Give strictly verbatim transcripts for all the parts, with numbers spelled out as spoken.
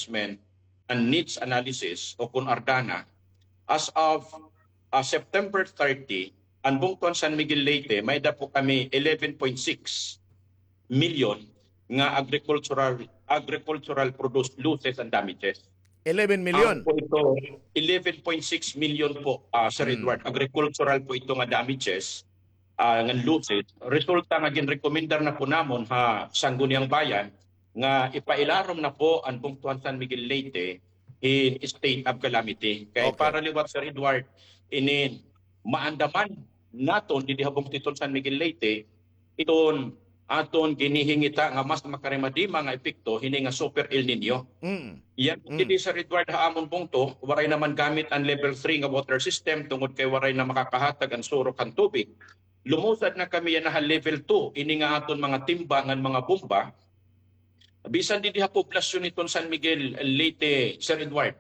Assessment and Needs Analysis o kun ARDANA, as of, ah, September thirty, an bungto han San Miguel Leyte, may-ada po kami eleven point six million nga agricultural, agricultural produce losses and damages. Eleven million? Amo po ito, eleven point six million po, ah, Sir Edward. Agricultural po ito nga damages, ah, nga losses. Resulta nga ginrekomendar na po namon ha Sangguniang Bayan nga ipailarom na po an bungto han San Miguel Leyte hin state of calamity. Kay para liwat, Sir Edward, inin maandaman naton didi ha bungto hiton San Miguel Leyte, iton aton ginhihingita nga mas makarimadima nga epekto hini nga Super El Niño. Yana didi, Sir Edward, ha amon bungto, waray naman gamit an level three nga water system tungod kay waray na makakahatag an surok han tubig. Lumusad na kami yana ha level two, ini nga aton mga timba ngan mga bomba. Bisan didi ha poblasyon hiton San Miguel Leyte, Sir Edward,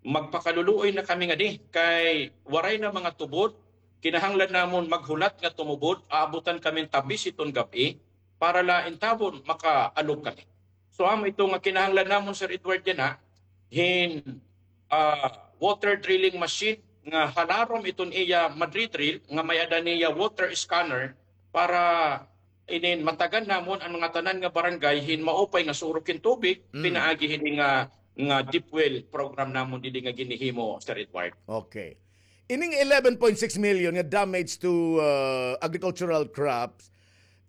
magpakaluluoy na kami ngadi kay waray na mga tubod. Kinahanglan namon maghulat nga tumubod, aabutan kami hin tabis hiton gab-i para la intawon makaalog kami. So, amo ito nga kinahanglan namon, Sir Edward, yana hin, ah, water drilling machine nga halarom iton iya madridrill nga may-ada niya water scanner para inin matagan namon an mga tanan nga barangay hin maupay nga surok hin tubig pinaagi hini nga, nga deep well program namon didi nga ginhihimo, Sir Edward. Okay. Ining eleven point six million nga damage to, uh, agricultural crops,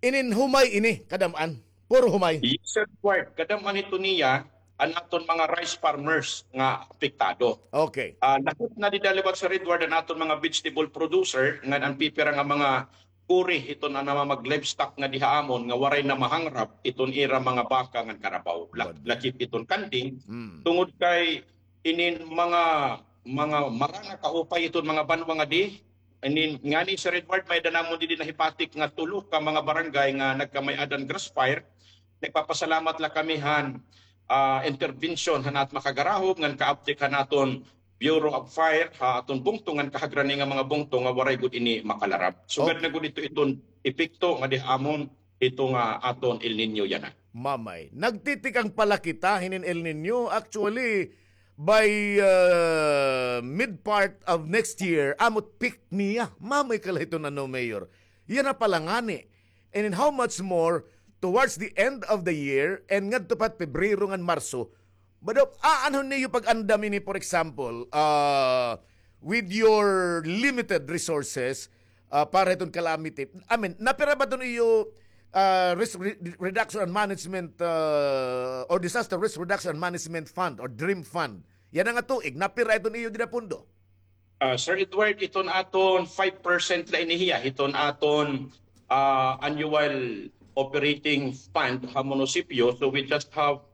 inin humay ini, kadam-an? Puro humay? Yes, Sir Edward. Kadam-an ito niya an aton mga rice farmers nga apektado. Okay. Ah, lagot na dida liwat, Sir Edward, an aton mga vegetable producer ngan an pipira nga mga kuri hiton an mga mag-livestock nga diha amon nga waray na mahangrap iton ira mga baka ngan karabaw. La-, lakip iton kanding. Tungod kay inin mga, mga mara nga kaupay iton mga banwa ngadi, inin ngani, Sir Edward, may-ada namon didi nahipatik nga tulo ka mga barangay nga nagkamay-adan grass fire. Nagpapasalamat la kami han, ah, intervention han at makagarahob ngan kaaptik han aton Bureau of Fire ha aton bungto ngan kahagrani nga mga bungto nga waray gud ini makalarab. Sugad na gud ito iton epekto nga diha amon ito nga aton El Niño yana. Mamay, nagtitikang pala kita hinin El Niño. Actually, by, uh, mid part of next year, amo it peak niya. Mamay kala ito na, no, Mayor. Yana pala ngani. And in how much more towards the end of the year and ngadto pa Pebrero ngan Marso, Bado, aanhon niyo pag-andam ini, for example, ah, with your limited resources, ah, para hiton calamity? I mean, napira ba iton iyo, ah, risk re-, reduction and management, ah, or disaster risk reduction and management fund or dream fund? Yana nga tuig, napira iton iyo dida pondo? Ah, Sir Edward, iton aton five percent la ini hiya, iton aton, ah, annual operating fund ha munisipyo. So we just have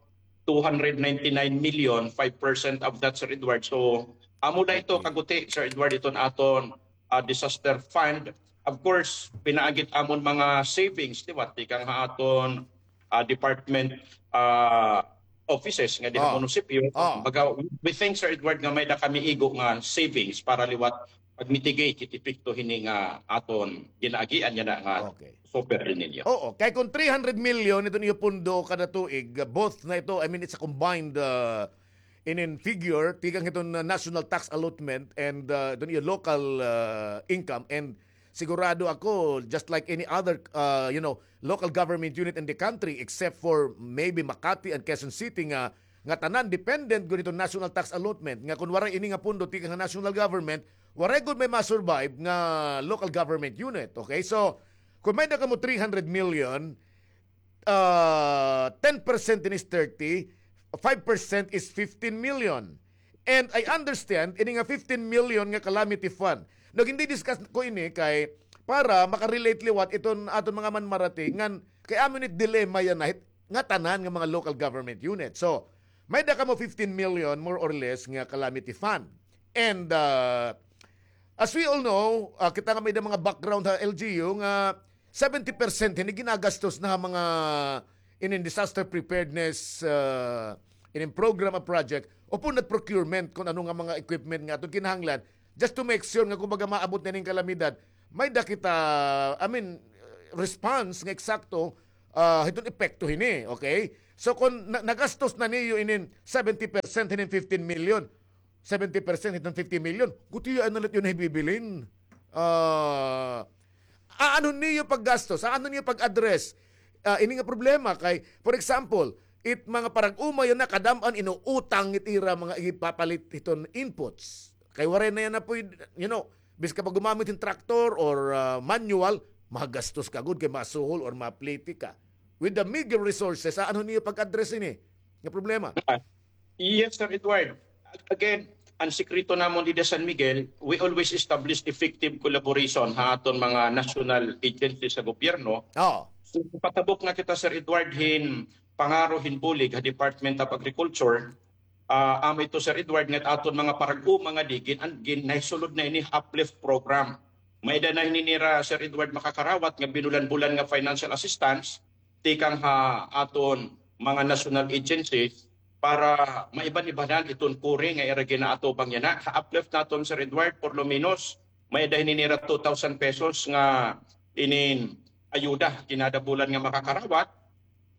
two hundred ninety-nine million, five percent of that, Sir Edward. So amo la ito kaguti, Sir Edward, iton aton, ah, disaster fund. Of course, pinaagi it amon mga savings, di ba? Tikang ha aton ah, department, ah, offices nga diha munisipyo. Baga, we think, Sir Edward, nga may-ada kami igo nga savings para liwat pag-mitigate hit epekto hini nga aton ginaagian yana nga Super El Niño. Oo, kay kon three hundred million iton iyo pondo kada tuig, ah, both na ito, I mean, it's a combined, ah, inin figure, tikang hiton, ah, national tax allotment and, ah, iton iyo local, ah, income and Sigurado ako, just like any other, uh, you know, local government unit in the country, except for maybe Makati and Quezon City nga, nga tanan dependent gud hiton national tax allotment, nga kun waray ini nga pondo tikang national government, waray gud may ma-survive nga local government unit. Okay? So, kun may-ada kamo three hundred million, ah, ten percent ini is thirty, five percent is fifteen million. And I understand, ini nga fifteen million nga calamity fund. Nag-, hindi discuss ko ini kay para makarelate liwat iton aton mga manmarati ngan kay amo ini dilemma yana hit, nga tanan nga mga local government unit. So, may-ada kamo fifteen million more or less nga calamity fund. And, ah, as we all know, ah, kita nga may-ada mga background ha L G U nga seventy percent hini ginagastos na ha mga inin disaster preparedness, ah, inin program a project, upon that procurement, kun ano nga mga equipment nga aton kinahanglan, just to make sure nga, kumbaga, maabot na inin kalamidad, may-ada kita, I mean, response nga eksakto ah, hiton epekto hini, okay? So, kon na-, nagastos na niyo inin seventy percent hinin fifteen million, seventy percent hiton fifty million, gutiay na la it iyo nahibibilin. Ah, aanhon niyo paggastos, aanhon niyo pag-address, ah, ini nga problema kay, for example, it mga parag-uma yana kadam-an inuutang it ira mga ipapalit hiton inputs. Kay waray na yana pwede, you know, bisan ka pa gumamit hin traktor or, ah, manual, magastos ka gud kay masuhol or maplete ka. With the meager resources, aanhon niyo pag-address ini nga problema? Ah, yes, Sir Edward. Again, an sikreto namon dida San Miguel, we always establish effective collaboration ha aton mga national agencies sa gobyerno. Oo. So, patabok na kita, Sir Edward, hin pangaro hin bulig ha Department of Agriculture. Ah, amo ito, Sir Edward, nga aton mga parag-uma ngadi gin-, an-, gin-, nahisulod na ini Uplift Program. May-ada na hini nira, Sir Edward, makakarawat nga binulan-bulan nga financial assistance tikang ha aton mga national agencies para maiban-ibanan iton kuri nga ira ginaatubang yana. Ha Uplift naton, Sir Edward, por lo menos, may-ada hini nira two thousand pesos nga inin ayuda kinada bulan nga makakarawat.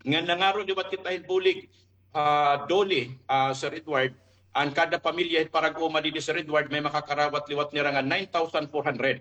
Nga nangaro liwat kita hin bulig, ah, DOLE, ah, Sir Edward, an kada pamilya hin parag-uma didi, Sir Edward, may makakarawat liwat nira nga nine thousand four hundred.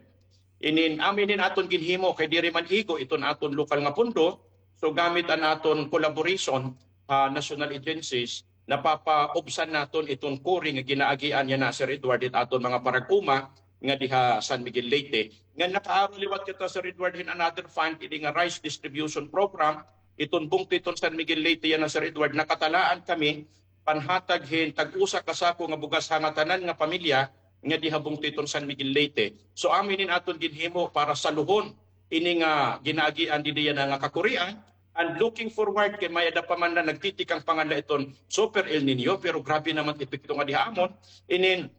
Inin, amo inin aton ginhimo kay diri man igo iton aton lokal nga pondo. So, gamit an aton collaboration, ah, national agencies, napapaubsan naton iton kuri nga ginaagian yana, Sir Edward, it aton mga parag-uma nga diha San Miguel Leyte. Nga nakaaro liwat kita, Sir Edward, hin another fund, ini nga rice distribution program, iton bungto iton San Miguel Leyte yana, Sir Edward, nakatalaan kami panhatag hin tag-usa ka sako nga bugas ha ngatanan nga pamilya nga diha bungto iton San Miguel Leyte. So, amo inin aton ginhimo para saluhon ini nga ginaagian didi yana nga kakurian. And looking forward kay may-ada pa man na nagtitikang panganla iton Super El Niño, pero grabe naman epekto nga diha amon. Inin,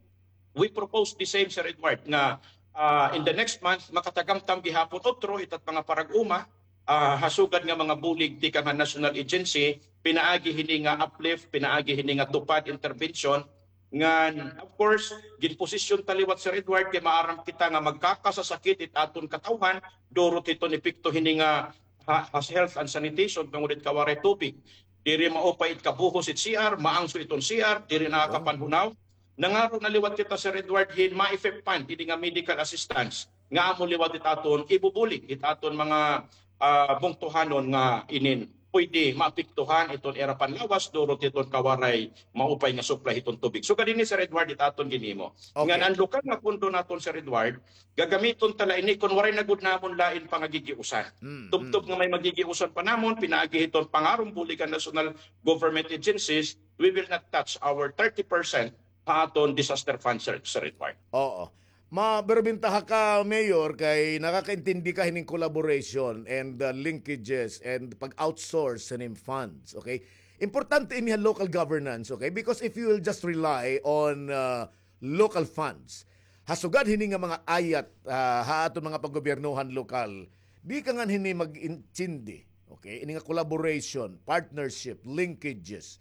we propose the same, Sir Edward, nga, ah, in the next month, makatagamtam gihapon utro itat mga parag-uma, ah, ha sugad nga mga bulig tikang ha national agency, pinaagi hini nga Uplift, pinaagi hini nga TUPAD intervention. Ngan, of course, ginposisyon ta liwat, Sir Edward, kay maaram kita nga magkakasasakit it aton katawhan, durot hiton epekto hini nga ha, ha health and sanitation, tungod it kawaray tubig. Diri maupay it kabuhos it C R, maangso iton C R, diri nakakapanhunaw. Nangaro na liwat kita, Sir Edward, hin MAIFEP fund, ini nga medical assistance, nga amo liwat it aton ibubulig, it aton mga, ah, bungtohanon nga inin pwede maapektuhan iton ira panlawas, durot iton kawaray maupay nga supply iton tubig. So, kadini, Sir Edward, it aton ginhimo. Okay. Ngan an lokal nga pondo naton, Sir Edward, gagamiton ta la ini kon waray na gud namon lain pangagigiusan. Mm, tubtob mm. Nga may magigiusan pa namon, pinaagi hiton pangaron bulig han national government agencies, we will not touch our thirty percent ha aton disaster fund, Sir, Sir Edward. Oo. Maberbentaha ka, Mayor, kay nakakaintindi ka hinin collaboration and, uh, linkages and pag-outsource hinin funds, okay? Importante ini ha local governance, okay? Because if you will just rely on, uh, local funds, ha sugad hini nga mga ayat, ah, ha aton mga paggobyernohan lokal, di ka ngan hini mag-intindi, okay? Ini nga collaboration, partnership, linkages,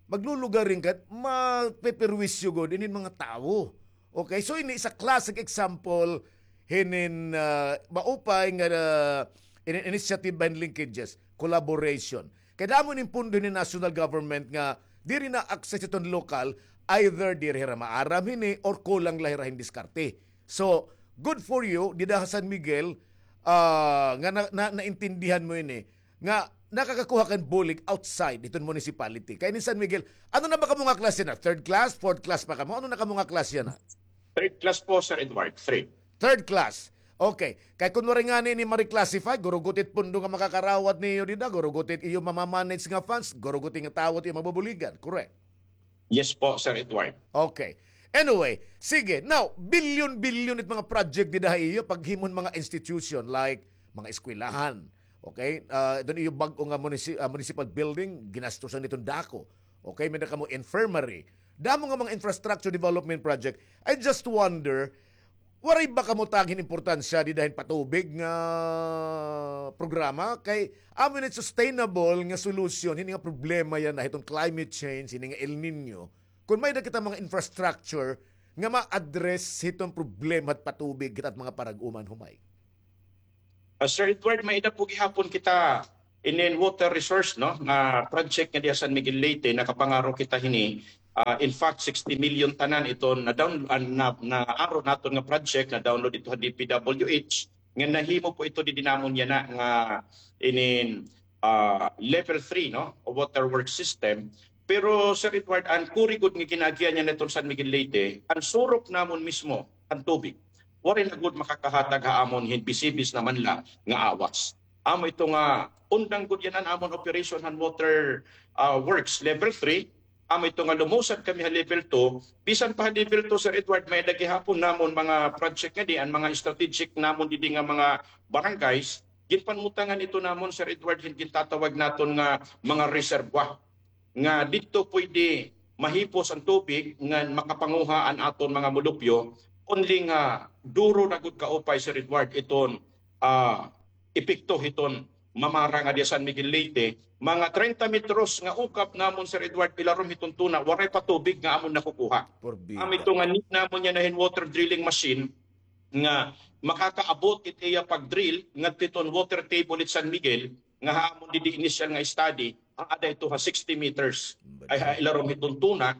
maglulugaring ka, mapeperwisyo gud inin mga tawo. Okay, so ini isa classic example hinin, ah, maupay nga, ah, ini-, initiative ba hin linkages, collaboration. Kay damo inin pondo hinin national government nga diri na-access hiton lokal, either diri hira maaram hini or kulang la hira hin diskarte. So, good for you, dida ha San Miguel, ah, nga na, na, naintindihan mo ini, nga nakakakuha kan bulig outside hiton municipality. Kay ini San Miguel, ano na ba kamo nga klase na? Third class, fourth class pa kamo? Ano na kamo nga klase na? Third class po, Sir Edward. Three. Third class. Okay. Kay kun waray ngani ini ma-reclassify, guruguti it pondo nga makakarawat niyo dida, guruguti it iyo mamamanage nga funds, guruguti nga tawo it iyo mabubuligan. Correct? Yes po, Sir Edward. Okay. Anyway, sige. Now, bilyon-bilyon it mga project dida ha iyo, paghimo hin mga institution like mga eskwelahan. Okay? Ah, iton iyo bag-o nga munisi-, ah, municipal building, ginastusan niton dako. Okay? May-ada kamo infirmary. Damo nga mga infrastructure development project. I just wonder, waray ba kamo tag hin importansya dida hin patubig nga programa? Kay amo ini sustainable nga solusyon hini nga problema yana hiton climate change, hini nga El Niño. Kon may-ada kita mga infrastructure nga ma-address hiton problema hit patubig hit at mga parag-uman humay. Ah, Sir Edward, may-ada po gihapon kita inin water resource, no, nga project nga diha San Miguel Leyte, nakapangaro kita hini. Ah, in fact, sixty million tanan iton na-down-, ah, na, na-aro naton nga project, na-download ito ha D P W H, nga nahimo po ito didi namon yana nga inin, ah, level three, no, water work system. Pero, Sir Edward, an kuri gud nga ginaagian yana iton San Miguel Leyte, an surok namon mismo, an tubig. Waray na gud makakahatag ha amon hin bisibis na man la nga awas. Amo ito nga undang gud yana an amon operation han water, ah, works level three. Amo ito nga lumusad kami ha level two. Bisan pa ha level two, Sir Edward, may-ada gihapon namon mga project ngadi, an mga strategic namon didi nga mga barangays. Ginpanutangan ito namon, Sir Edward, hin gintatawag naton nga mga reservoir nga didto pwede mahipos an tubig nga makapanguha an aton mga mulupyo, only nga duro na gud kaupay, Sir Edward, iton, ah, epekto hiton mamara nga diha San Miguel Leyte, mga treinta metros nga ukab namon, Sir Edward, ilarom hiton tuna, waray pa tubig nga amon nakukuha. Porbida. Amo ito nga need namon yana hin water drilling machine nga makakaabot it iya pag-drill ngadto hiton water table it San Miguel, nga ha amon didi initial nga study, aada ito ha sixty meters. Ay, ha ilarom hiton tuna.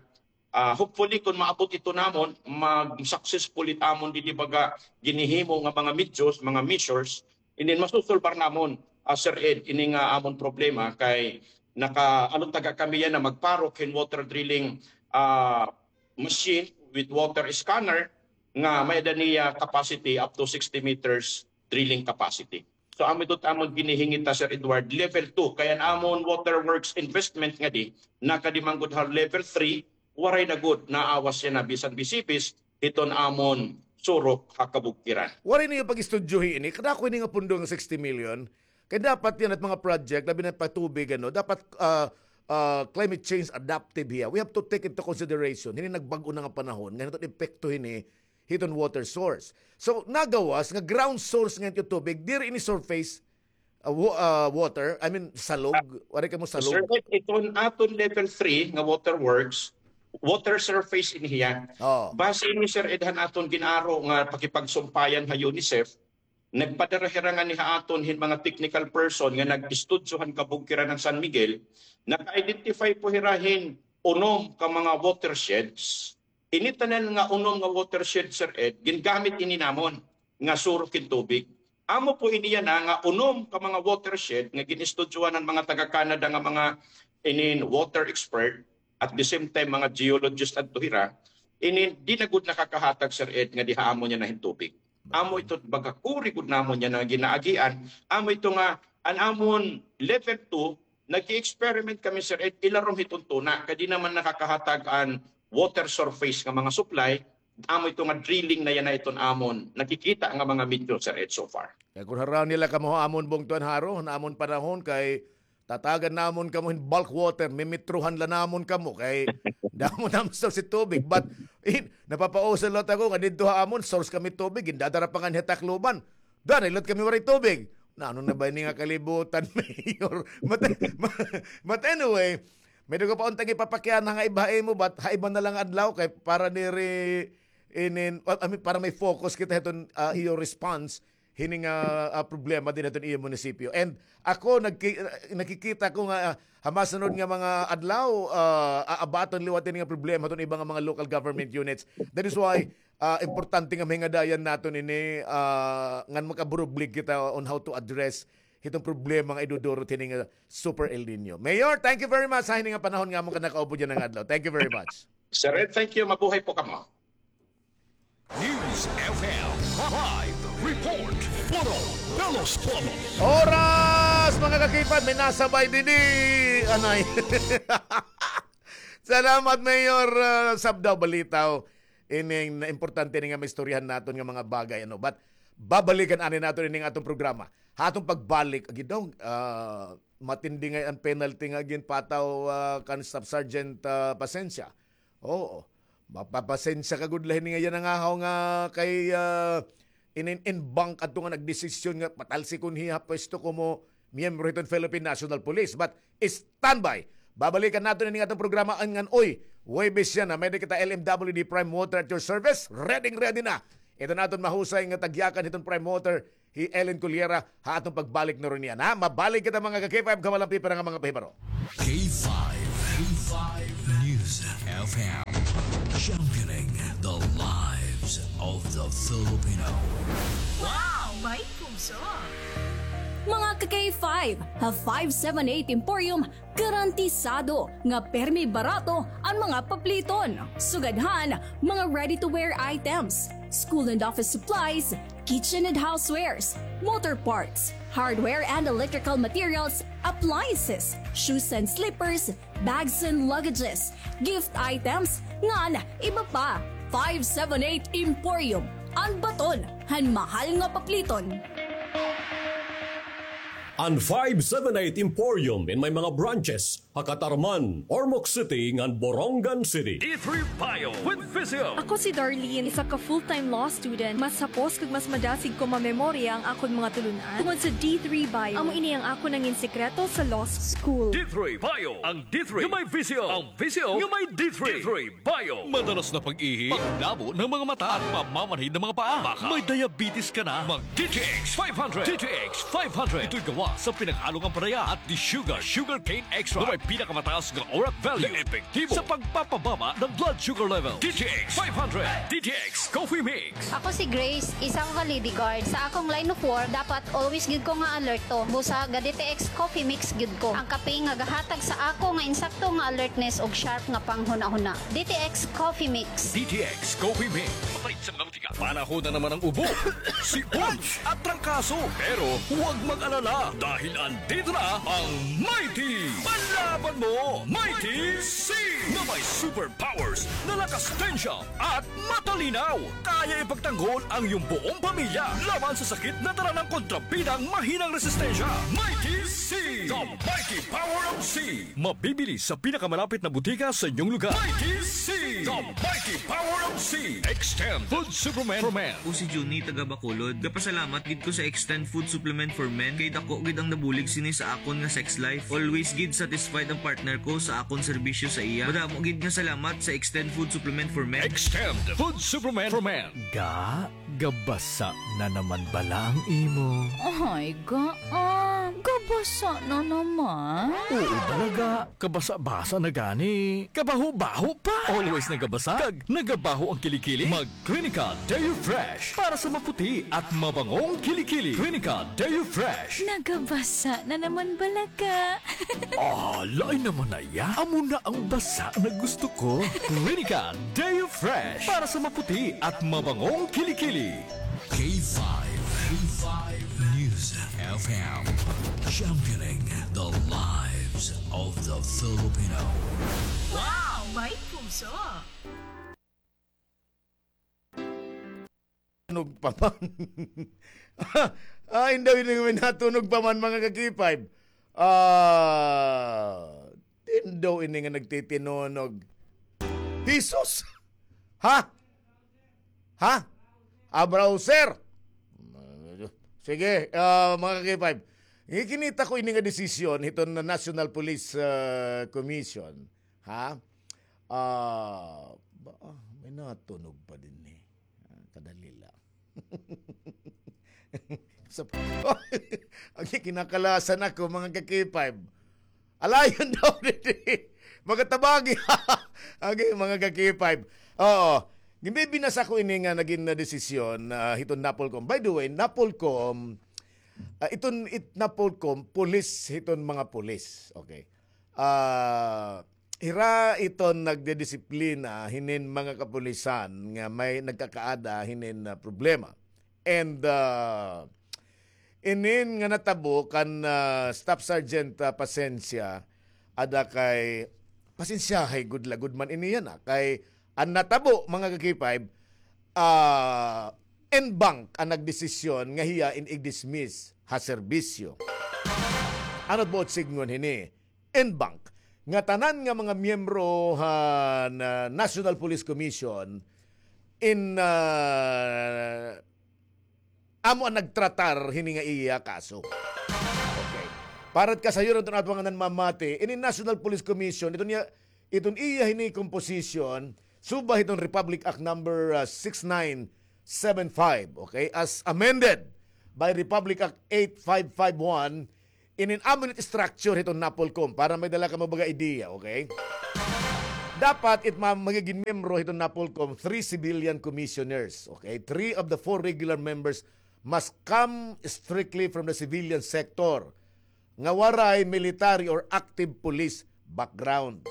Ah, hopefully, kon maabot ito namon, mag-successful it amon didi baga ginhihimo nga mga measures, mga measures, and then masusulbar namon, ah, Sir Ed, ini nga amon problema kay naka-, ano, taga kami yana magparok hin water drilling, ah, machine with water scanner nga may-ada niya capacity up to sixty meters drilling capacity. So, amo ito it amon ginhihingita, Sir Edward, level two. Kay an amon water works investment ngadi, nakadi man gud ha level three, waray na gud naawas yana bisan bisibis hiton amon surok ha kabugkiran. Waray niyo pag-istudyohi ini. Kadako ini nga pundo nga sixty million. Kay dapat yana it mga project, labi na patubig, ano, dapat, ah, ah, climate change adaptive hiya. We have to take into consideration hini nagbag-o na nga panahon, nga hiton epekto hini hiton water source. So, nagawas nga ground source nga iton tubig, diri ini surface, ah, wa-, ah, water, I mean, salog. Ah, waray kamo salog. Sir, iton aton level three nga water works, water surface ini hiya. Oh. Base ini, Sir Ed, han aton gin-aro nga pakipagsumpayan ha UNICEF, nagpadara hira ngani ha aton hin mga technical person nga nag-istudyo han kabugkiran han San Miguel, naka-identify po hira hin unom ka mga watersheds. Ini tanan nga unom nga watershed, Sir Ed, gingamit ini namon nga surok hin tubig. Amo po ini yana nga unom ka mga watershed nga gin-istudyohan han mga taga-Canada nga mga inin water expert, at the same time mga geologist adto hira, ini di na gud nakakahatag, Sir Ed, nga diha amon yana hin tubig. Amo ito baga kuri gud namon yana nga ginaagian, amo ito nga an amon level two, nag-i-experiment kami, Sir Ed, ilarom hiton tuna, kay di naman nakakahatag an water surface nga mga supply, amo ito nga drilling na yana iton amon nakikita nga mga measure, Sir Ed, so far. Kay kon haraon nila kamo ha amon bungtuan, haro, han amon panahon, kay tatagan namon kamo hin bulk water, mimetrohan la namon kamo, kay damo namon source hin tubig. But, eh, napapausa liwat ako nga didto ha amon, source kami tubig, gindadara pa ngani ha Tacloban. Danay liwat kami waray tubig. Nano na ba ini nga kalibutan, Mayor? But, but anyway, may dugo pa untang ipapakiana nga iba ha imo, but ha iba na lang adlaw kay para diri inin, I mean, para may focus kita hiton, ah, iyo response hini nga, ah, problema dida hiton iyo munisipyo. And ako, nagki-, nakikita ko nga, ah, ha masunod nga mga adlaw, ah, aabaton liwat ini nga problema hiton iba nga mga local government units. That is why, ah, importante nga mahingadayan naton ini, ah, ngan makaburublig kita on how to address hiton problema nga iduduro hit hini nga Super El Nino. Mayor, thank you very much ha hini nga panahon nga amon ka nakaupod yana nga adlaw. Thank you very much. Sir Ed, thank you. Mabuhay po kamo. News F M, live report, puro pelos, pelos. Oras, mga kakipad, may nasabay didi. Anay. Salamat, Mayor, ah, Sabdaw Balitaw. Ining na importante ni nga maistoryahan naton nga mga bagay, ano. But babalikan ani naton ining aton programa. Ha aton pagbalik, agi daw, ah, matindi ngay-an penalty nga ginpataw, ah, kan Staff Sergeant, ah, Pasensia. Oo. Mapapasensya ka gud la hini nga yana nga haw nga kay, ah, inin-, in bank adto nga nagdesisyon nga patalsikon hiya ha pwesto komo miyembro hiton Philippine National Police. But standby. Babalikan naton ini nga aton programa ngan, oy, Huwebes yana, may-ada kita L M W D Prime Water at your service. Ready, ready na. Iton aton mahusay nga tagyakan hiton Prime Water, hi Ellen Cullera, ha aton pagbalik na run niyan, ha? Mabalik kita, mga ka-K five, kamalampi pa nga mga pahibaro. K five, K five News F M, championing the lives of the Filipino. Wow! May puso! Mga ka-K five, ha five seven eight Emporium, garantisado nga permi barato an mga papliton. Sugad han mga ready-to-wear items, school and office supplies, kitchen and housewares, motor parts, hardware and electrical materials, appliances, shoes and slippers, bags and luggages, gift items, ngan iba pa. Five seven eight Emporium, an baton han mahal nga papliton. An five seven eight Emporium in may mga branches ha Catarman, Ormoc City, ngan Borongan City. D three Bio with Visio. Ako si Darlene, isa ka full-time law student. Mas hapos kag mas madasig ko mamemorya ang akon mga tulun-an tungod sa D three Bio. Amo ini ang akon nangin sekreto sa law school. D three Bio, ang D three nga may Visio, ang Visio nga may D three. D three Bio. Madalas na pag-ihi, pagdabo ng mga mata, at pamamanhid ng mga paa. Baka may diabetes ka na. Mag D T X five hundred. D T X five hundred. Ito'y gawa sa pinaghalong ampalaya at desugared sugarcane extract na may pinakamataas nga ORAC value na epektibo sa pagpapababa ng blood sugar level. D T X five hundred. D T X Coffee Mix. Ako si Grace, isa ka lady guard. Sa akong line of work, dapat always gyud ko nga alerto. Busa ga D T X Coffee Mix gyud ko. Ang kape nga gahatag sa ako nga insakto nga alertness ug sharp nga panghunahuna. D T X Coffee Mix. D T X Coffee Mix. Patay sa mga Panahon na naman ng ubo, sipon, at trangkaso. Pero huwag mag-alala dahil andito na ang Mighty Panlaban Mo, Mighty C, na may superpowers na lakas, tensya, at matalinaw. Kaya ipagtanggol ang iyong buong pamilya laban sa sakit na dala ng kontrabidang mahinang resistensya. Mighty C, the mighty power of C. Mabibili sa pinakamalapit na butika sa inyong lugar. Mighty C, the mighty power of C. Extend Food Supplement for Men. Ako si Junie, taga Bacolod. Gapasalamat gid ko sa Extend Food Supplement for Men kay dako gid ang nabulig sini sa akon nga sex life. Always gid satisfied ang partner ko sa akon serbisyo sa iya. Madamo gid nga salamat sa Extend Food Supplement for Men. Extend Food Supplement for Men. Ga, gabasa na naman bala ang imo? Ay, ga, ah, gabasa na naman? Oo, bala ga. Kabasa-basa na gani. Kabaho-baho pa. Always nagabasa kag nagabaho ang kilikili. Mag Clinica Deo Fresh para sa maputi at mabangong kilikili. Clinica Deo Fresh. Nagabasa na naman bala ga. Ah, lain naman na iya. Amo na ang basa na gusto ko. Clinica Deo Fresh para sa maputi at mabangong kilikili. K five, K five News F M, championing the lives of the Filipino. Wow! May puso! Tunog pa man. Ay, daw ini nga may natunog pa man, mga ka-K five. Ah, tindaw ini nga nagtitinunog. Hesus! Ha? Ha? Abraw, sir! Sige, ah, mga ka-K five. Gikinita ko ini nga desisyon hiton National Police, ah, Commission. Ha? Ah, ba, ah, may natunog pa dinhi. Ah, kadali la. Sa, ang kinakalasan ako, mga ka-K five. Alayon daw didi. Magatabagi. Okay, mga ka-K five. Oo. Ginbibinasa ko ini nga nagin na desisyon, ah, hiton Napolcom. By the way, Napolcom, ah, iton it Napolcom, pulis hiton mga pulis. Okay. Ah, hira iton nagdidisiplina hinin mga kapulisan nga may nagkakaada hinin, ah, problema. And, ah, inin nga natabo kan, ah, Staff Sergeant, ah, Pasencia, ada kay, pasensyahay gud la gud man ini yana, kay an natabo, mga ka-K five, ah, en banc an nagdesisyon nga hiya in i-dismiss ha serbisyo. Ano't buot sidngon hini? En banc nga tanan nga mga miyembro han, ah, National Police Commission in, ah, amo an nagtratar hini nga iya kaso. Okay. Para kasayuran iton aton mga nanmamati, ini National Police Commission, iton iya, iton iya hini composition, suba hiton Republic Act number, ah, six nine seven five, okay? As amended by Republic Act eight five five one, inin amo it structure hiton NAPOLCOM para may dala kamo baga idea, okay? Dapat it ma-, magigin miyembro hiton NAPOLCOM, three civilian commissioners, okay? Three of the four regular members must come strictly from the civilian sector nga waray military or active police background.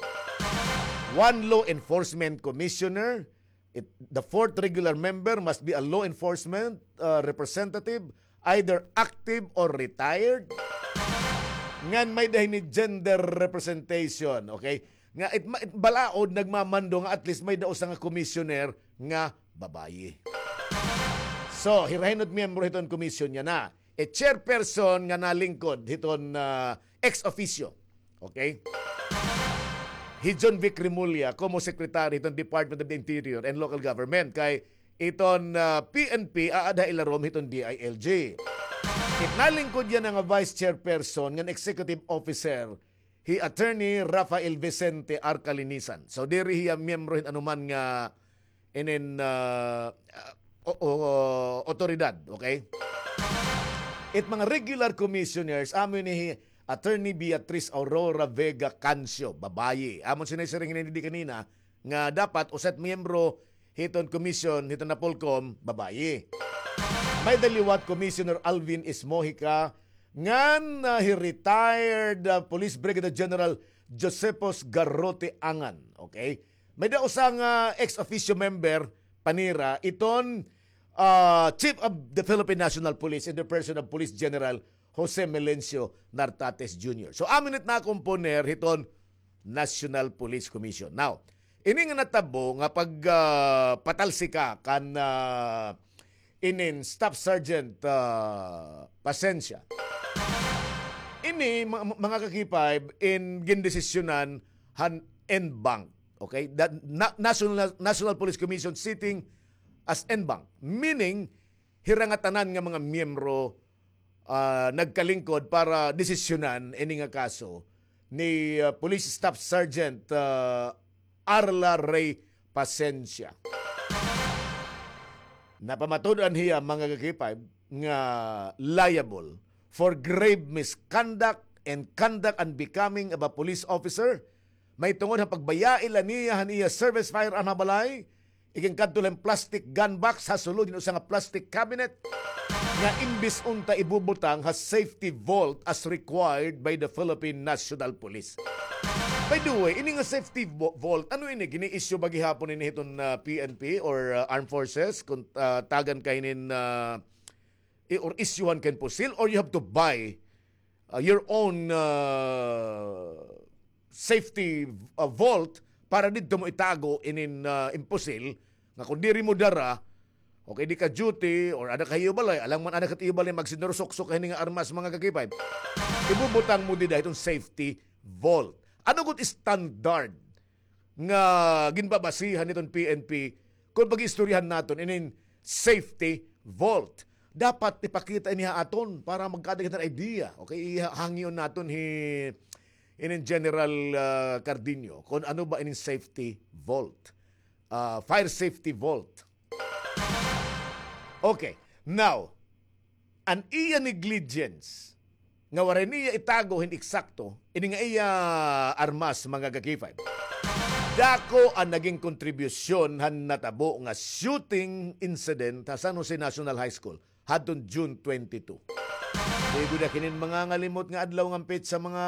One law enforcement commissioner, it, the fourth regular member must be a law enforcement, uh, representative, either active or retired. Ngan may-ada hini gender representation, okay? Nga it, ma-, it balaod nagmamando nga at least may-ada usa nga commissioner nga babayi. So, hira hin-o it miyembro hiton commission yana? E chairperson nga nalingkod hiton, ah, ex officio. Okay? Hi John Vic Remulla, como secretary hiton Department of the Interior and Local Government. Kay iton, ah, P N P, aada ha ilarom hiton D I L G. It nalingkod yana nga vice chairperson ngan executive officer, hi Attorney Rafael Vicente Arcalinisan. So, diri hiya miyembro hin anuman nga inin, ah, ah, o, o, otoridad, okay? It mga regular commissioners, amo ini hi Attorney Beatriz Aurora Vega Cancio, babayi. Amon sinisiring ini di kanina, nga dapat usa it miyembro hiton commission, hiton NAPOLCOM, babayi. May-ada liwat Commissioner Alvin Ismojica, ngan, ah, hi retired, ah, Police Brigadier General Josephus Garrote Angan. Okay? May-ada usa nga ex officio member, panira, iton, ah, Chief of the Philippine National Police in the person of Police General Jose Melencio Nartates Junior. So, amo ini it nakomponer hiton National Police Commission. Now, ini nga natabo nga pag, ah, patalsika kan, ah, inin Staff Sergeant, ah, Pasensya. Ini, ma-, mga ka-K five, in gindesisyonan han en banc. Okay? That na-, National, National Police Commission sitting as en banc. Meaning, hira nga tanan nga mga miyembro, ah, nagkalingkod para desisyonan ini nga kaso ni, ah, Police Staff Sergeant, ah, Arla Rey Pasensya. Napamatud-an hiya, mga ka-K five, nga liable for grave misconduct and conduct unbecoming of a police officer, mahitungod ha pagbayai la niya han iya service firearm ha balay, iginkadto la hin plastic gun box ha sulod hin usa nga plastic cabinet nga imbis unta ibubutang ha safety vault as required by the Philippine National Police. By the way, ini nga safety vo-, vault, ano ini? Gini-issue ba gihapon ini hiton, ah, P N P or, ah, Armed Forces? Kun, ah, tagan ka hinin, ah, i-, or isyuhan ka hin pusil, or you have to buy, ah, your own, ah, safety, ah, vault para didto mo itago inin, ah, in pusil, nga kon diri mo dara, okay, di ka duty, or ada ka ha iyo balay, alangan man ada ka ha iyo balay, magsinurusuksok ka hini nga armas, mga ka-K five. Ibubutang mo dida hiton safety vault. Ano gud standard nga ginbabasihan hiton P N P kon pag-iistoryahan naton inin safety vault? Dapat ipakita ini ha aton para magkaada kita idea. Okay, ihangyo naton hi inin General, ah, Cardino kon ano ba inin safety vault. Ah, fire safety vault. Okay. Now, an iya negligence nga waray niya itago hin eksakto ini nga iya armas, mga ka-K five. Dako an naging kontribusyon han natabo nga shooting incident ha San Jose National High School hadton June twenty-two. Di gud ak hinin mangangalimot nga adlaw ngan petsa, mga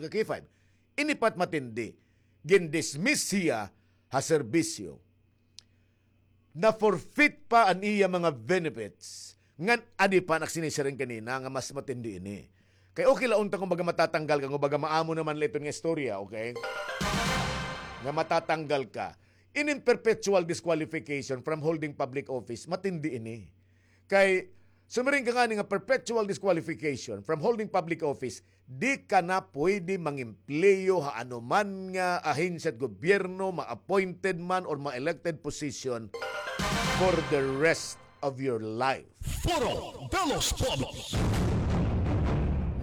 ka-K five. Ini pa it matindi, gindismiss hiya ha serbisyo. Na-forfeit pa an iya mga benefits. Ngan adi pa an ak sinisiring kanina nga mas matindi ini. Kay okay la unta kon baga matatanggal ka, kon baga maamo naman la iton nga istorya, okay? Nga matatanggal ka. Inin perpetual disqualification from holding public office, matindi ini. Kay sumiring ka ngani nga perpetual disqualification from holding public office, di ka na pwede mangempleyo ha anuman nga ahensya hit gobyerno, ma-appointed man or ma-elected position for the rest of your life. Foro de los Pueblos.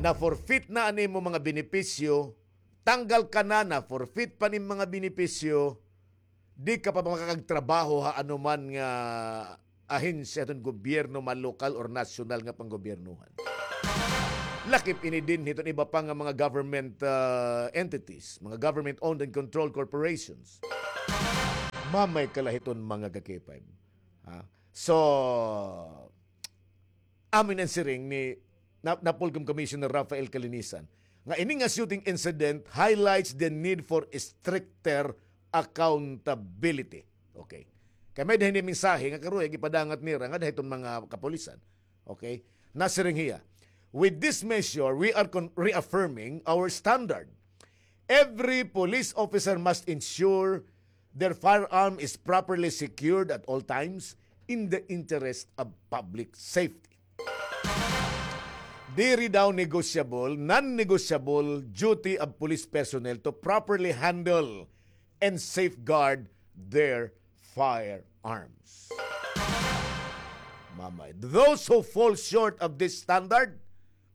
Na-forfeit na an imo mga benepisyo, tanggal ka na, na-forfeit pa an imo mga benepisyo, di ka pa makakagtrabaho ha anuman nga ahensya hiton gobyerno, ma lokal or nasyonal nga panggobyernohan. Lakip ini dinhi hiton iba pa nga mga government, ah, entities, mga government-owned and controlled corporations. Mamay kala hiton, mga ka-K five. Ha? So, amo ini an siring ni Na-, Napolcom Commissioner Rafael Calinisan nga ini nga shooting incident highlights the need for stricter accountability. Okay. Kay may-ada hini mensahe nga karuyag ipadangat nira ngada hiton mga kapulisan. Okay? Nasiring hiya, "With this measure, we are con-, reaffirming our standard. Every police officer must ensure their firearm is properly secured at all times in the interest of public safety." Diri daw negotiable, non-negotiable duty of police personnel to properly handle and safeguard their firearms. Mamay, those who fall short of this standard,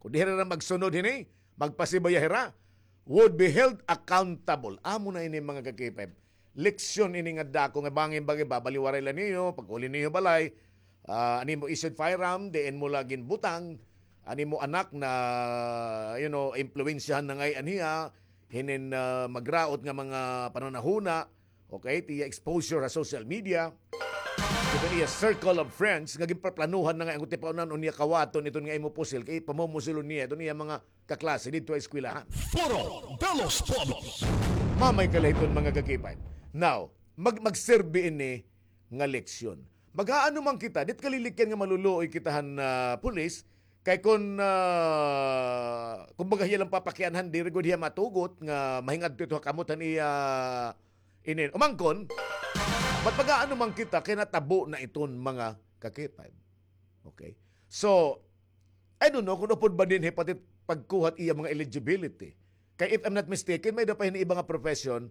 kung diri hira magsunod hini, magpasibaya hira, would be held accountable. Amo na ini, mga ka-K five. Leksyon ini nga dako nga bangin bagay, babaliwaray la niyo, pag-uli niyo balay, ah, an imo issued firearm, diin mo la ginbutang, an imo anak na, you know, impluwensyahan na ngay-an hiya, hinin, ah, magraot nga mga pananahuna, okay, it iya exposure ha social media, it iya circle of friends, nga ginpaplanuhan na nga an tipaonan o niya kawaton iton nga imo pusil, kay pamumusilon niya iton iya mga kaklase didto ha eskwelahan. Foro de los Pueblos. Mamay kala hiton, mga ka-K five. Now, mag-, magserbi ini nga leksyon. Mag-aano man kita, diri kalilikyan nga maluluoy kita han, ah, pulis, kay kon, ah, kumbaga hiya lang papakianhan, diri gud hiya matugot nga mahingadto ito ha kamot han iya inin. Umangkon, but mag-aano man kita kay natabo na iton, mga ka-K five. Okay? So, I don't know kung upod ba dinhi pati pagkuha it iya mga eligibility. Kay if I'm not mistaken, may-ada pa hini iba nga profession,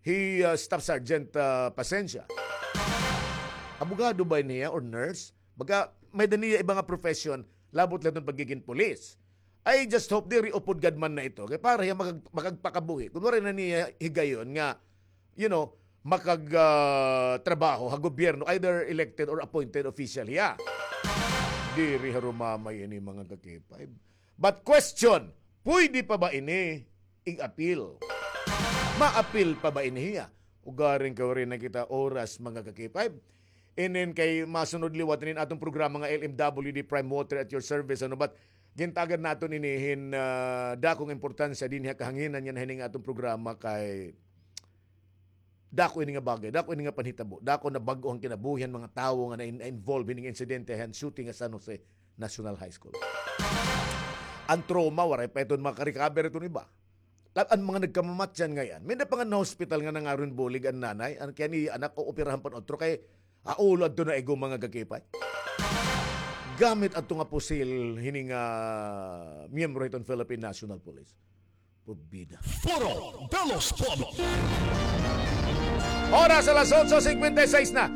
hi, ah, Staff Sergeant, ah, Pasensya. Abogado ba ini hiya or nurse? Baga, may-ada niya iba nga profession, labot la iton pagigin pulis. I just hope diri upod gad man na ito. Kay para hiya makag-, makagpakabuhi. Kun waray na niya higayon nga, you know, makag, ah, trabaho ha gobyerno, either elected or appointed official hiya. Diri harumamay ini, mga ka-K five. But question, pwede pa ba ini ig-appeal? Ma-appeal pa ba ini hiya? Ugaring kay waray na kita oras, mga ka-K five. Inin kay masunod liwat inin aton programa nga L M W D Prime Water at your service, ano, but gintagan naton ini hin, ah, dakong importansya dinhi ha kahanginan niyan hini nga aton programa kay dako ini nga bagay, dako ini nga panhitabo, dako nabag-o an kinabuhi han mga tawo nga na-, na-involve hini nga insidente han shooting ha San Jose National High School. An trauma, waray pa iton maka-recover iton iba. La-, an mga nagkamamatyan ngay-an. May-ada pa nga na-hospital nga nangaron bulig an nanay, an kay an iya anak ooperahan pa an utro kay ha ulo adto naigo, mga ka-K five. Gamit adto nga pusil hini nga miyembro hiton Philippine National Police. Porbida. Foro de los Pueblos. Oras alas otso cincuenta y seis na.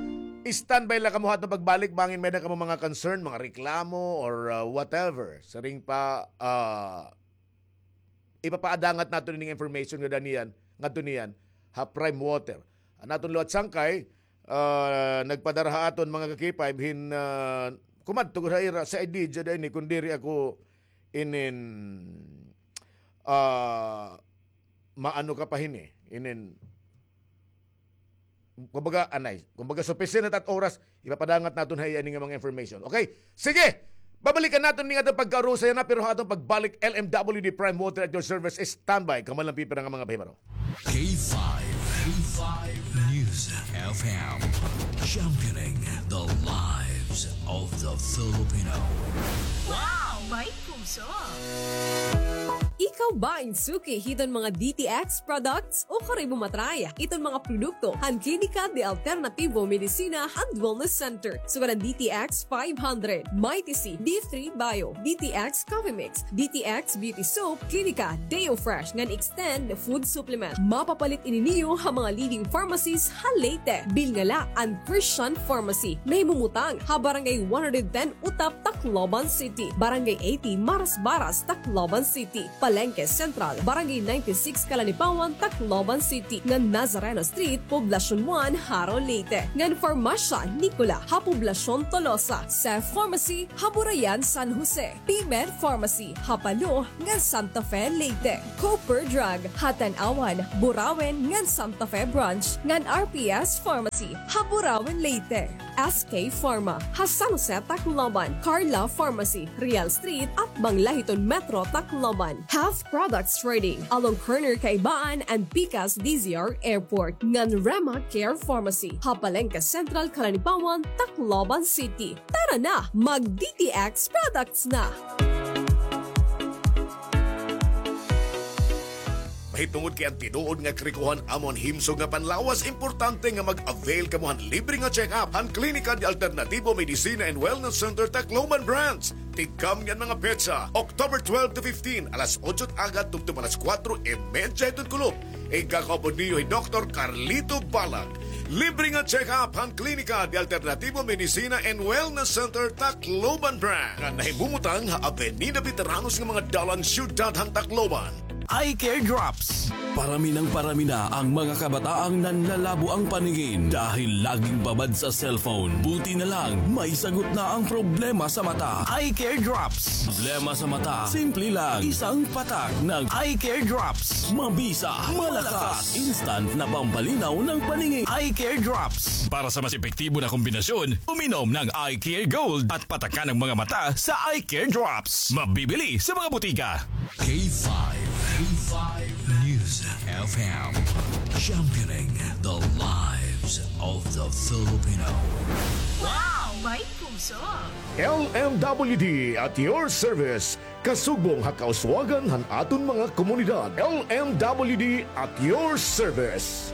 Standby la kamo ha aton pagbalik, bangin may-ada kamo mga concern, mga reklamo, or, uh, whatever. Siring pa, uh, ipapaadangat naton ini nga information nga daniyan, ngadto niyan, ha Prime Water. An aton liwat sangkay, ah, nagpadara ha aton, mga ka-K five, hin, ah, kumadto gud ha ira, sa idea da ini, kun diri ako inin, ah, maano ka pa hini, inin, kumbaga, anay, kumbaga, sufficient na it at oras, ipapadangat naton ha iya ini nga mga information. Okay? Sige! Babalikan naton ini nga aton pagkaurusay na, pero ha aton pagbalik, L M W D Prime Water at your service, standby. Kamo lang pipira nga mga pahibaro. K five, K five News F M, championing the lives of the Filipino. Wow! May puso! Ikaw ba in suki hiton mga D T X products? O kari mo matry iton mga produkto han Klinika de Alternativo Medicina and Wellness Center. Sugad an D T X five hundred, Mighty C, D three Bio, D T X Coffee Mix, D T X Beauty Soap, Klinika Deo Fresh ngan Extend Food Supplement. Mapapalit ini niyo ha mga leading pharmacies ha Leyte. Bilngala an Christian Pharmacy. Nahimumutang ha Barangay one hundred ten Utap, Tacloban City. Barangay eighty Marasbaras, Tacloban City. Palengke Central, Barangay ninety-six, Calanipawan, Tacloban City, ngan Nazareno Street, Poblacion one, Jaro, Leyte, ngan Farmacia Nicola ha Poblacion Tolosa, Seth Pharmacy ha Burayan, San Jose, P-Med Pharmacy ha Palo ngan Santa Fe, Leyte, Cooper Drug ha Tanauan, Burauen ngan Santa Fe Branch, ngan R P S Pharmacy ha Burauen, Leyte, S K Pharma ha San Jose, Tacloban, Carla Pharmacy, Real Street, atbang la hiton Metro Tacloban, Health Products Trading along corner Kaibaan and Pikas D Z R Airport, ngan Rema Care Pharmacy ha Palengke Central, Calanipawan, Tacloban City. Tara na, mag D T X products na! Mahitungod kay an tinuod nga karikohan amo an himsog nga panlawas, importante nga mag-avail kamo han libre nga check-up han Klinika de Alternativo Medicina and Wellness Center Tacloban Branch. Tigkam niyan mga petsa, October twelve to fifteen, alas otso agad tubtob alas kuwatro y medya hiton kulop. Igkakaupod niyo hi Doktor Carlito Balag. Libre nga check-up han Klinika de Alternativo Medicina and Wellness Center Tacloban Branch, nga nahimumutang ha Avenida Veteranos nga mga dalan, siyudad han Tacloban. Eye Care Drops. Parami nang parami na ang mga kabataang nanlalabo ang paningin dahil laging babad sa cellphone. Buti na lang, may sagot na ang problema sa mata. Eye Care Drops. Problema sa mata, simple lang. Isang patak ng Eye Care Drops. Mabisa, malakas, instant na pampalinaw ng paningin. Eye Care Drops. Para sa mas epektibo na kombinasyon, uminom ng Eye Care Gold at patakan ang mga mata sa Eye Care Drops. Mabibili sa mga butika. K five, K five News F M, championing the lives of the Filipino. Wow! May puso! L M W D at your service. Kasugbong ha kauswagan han aton mga komunidad. L M W D at your service.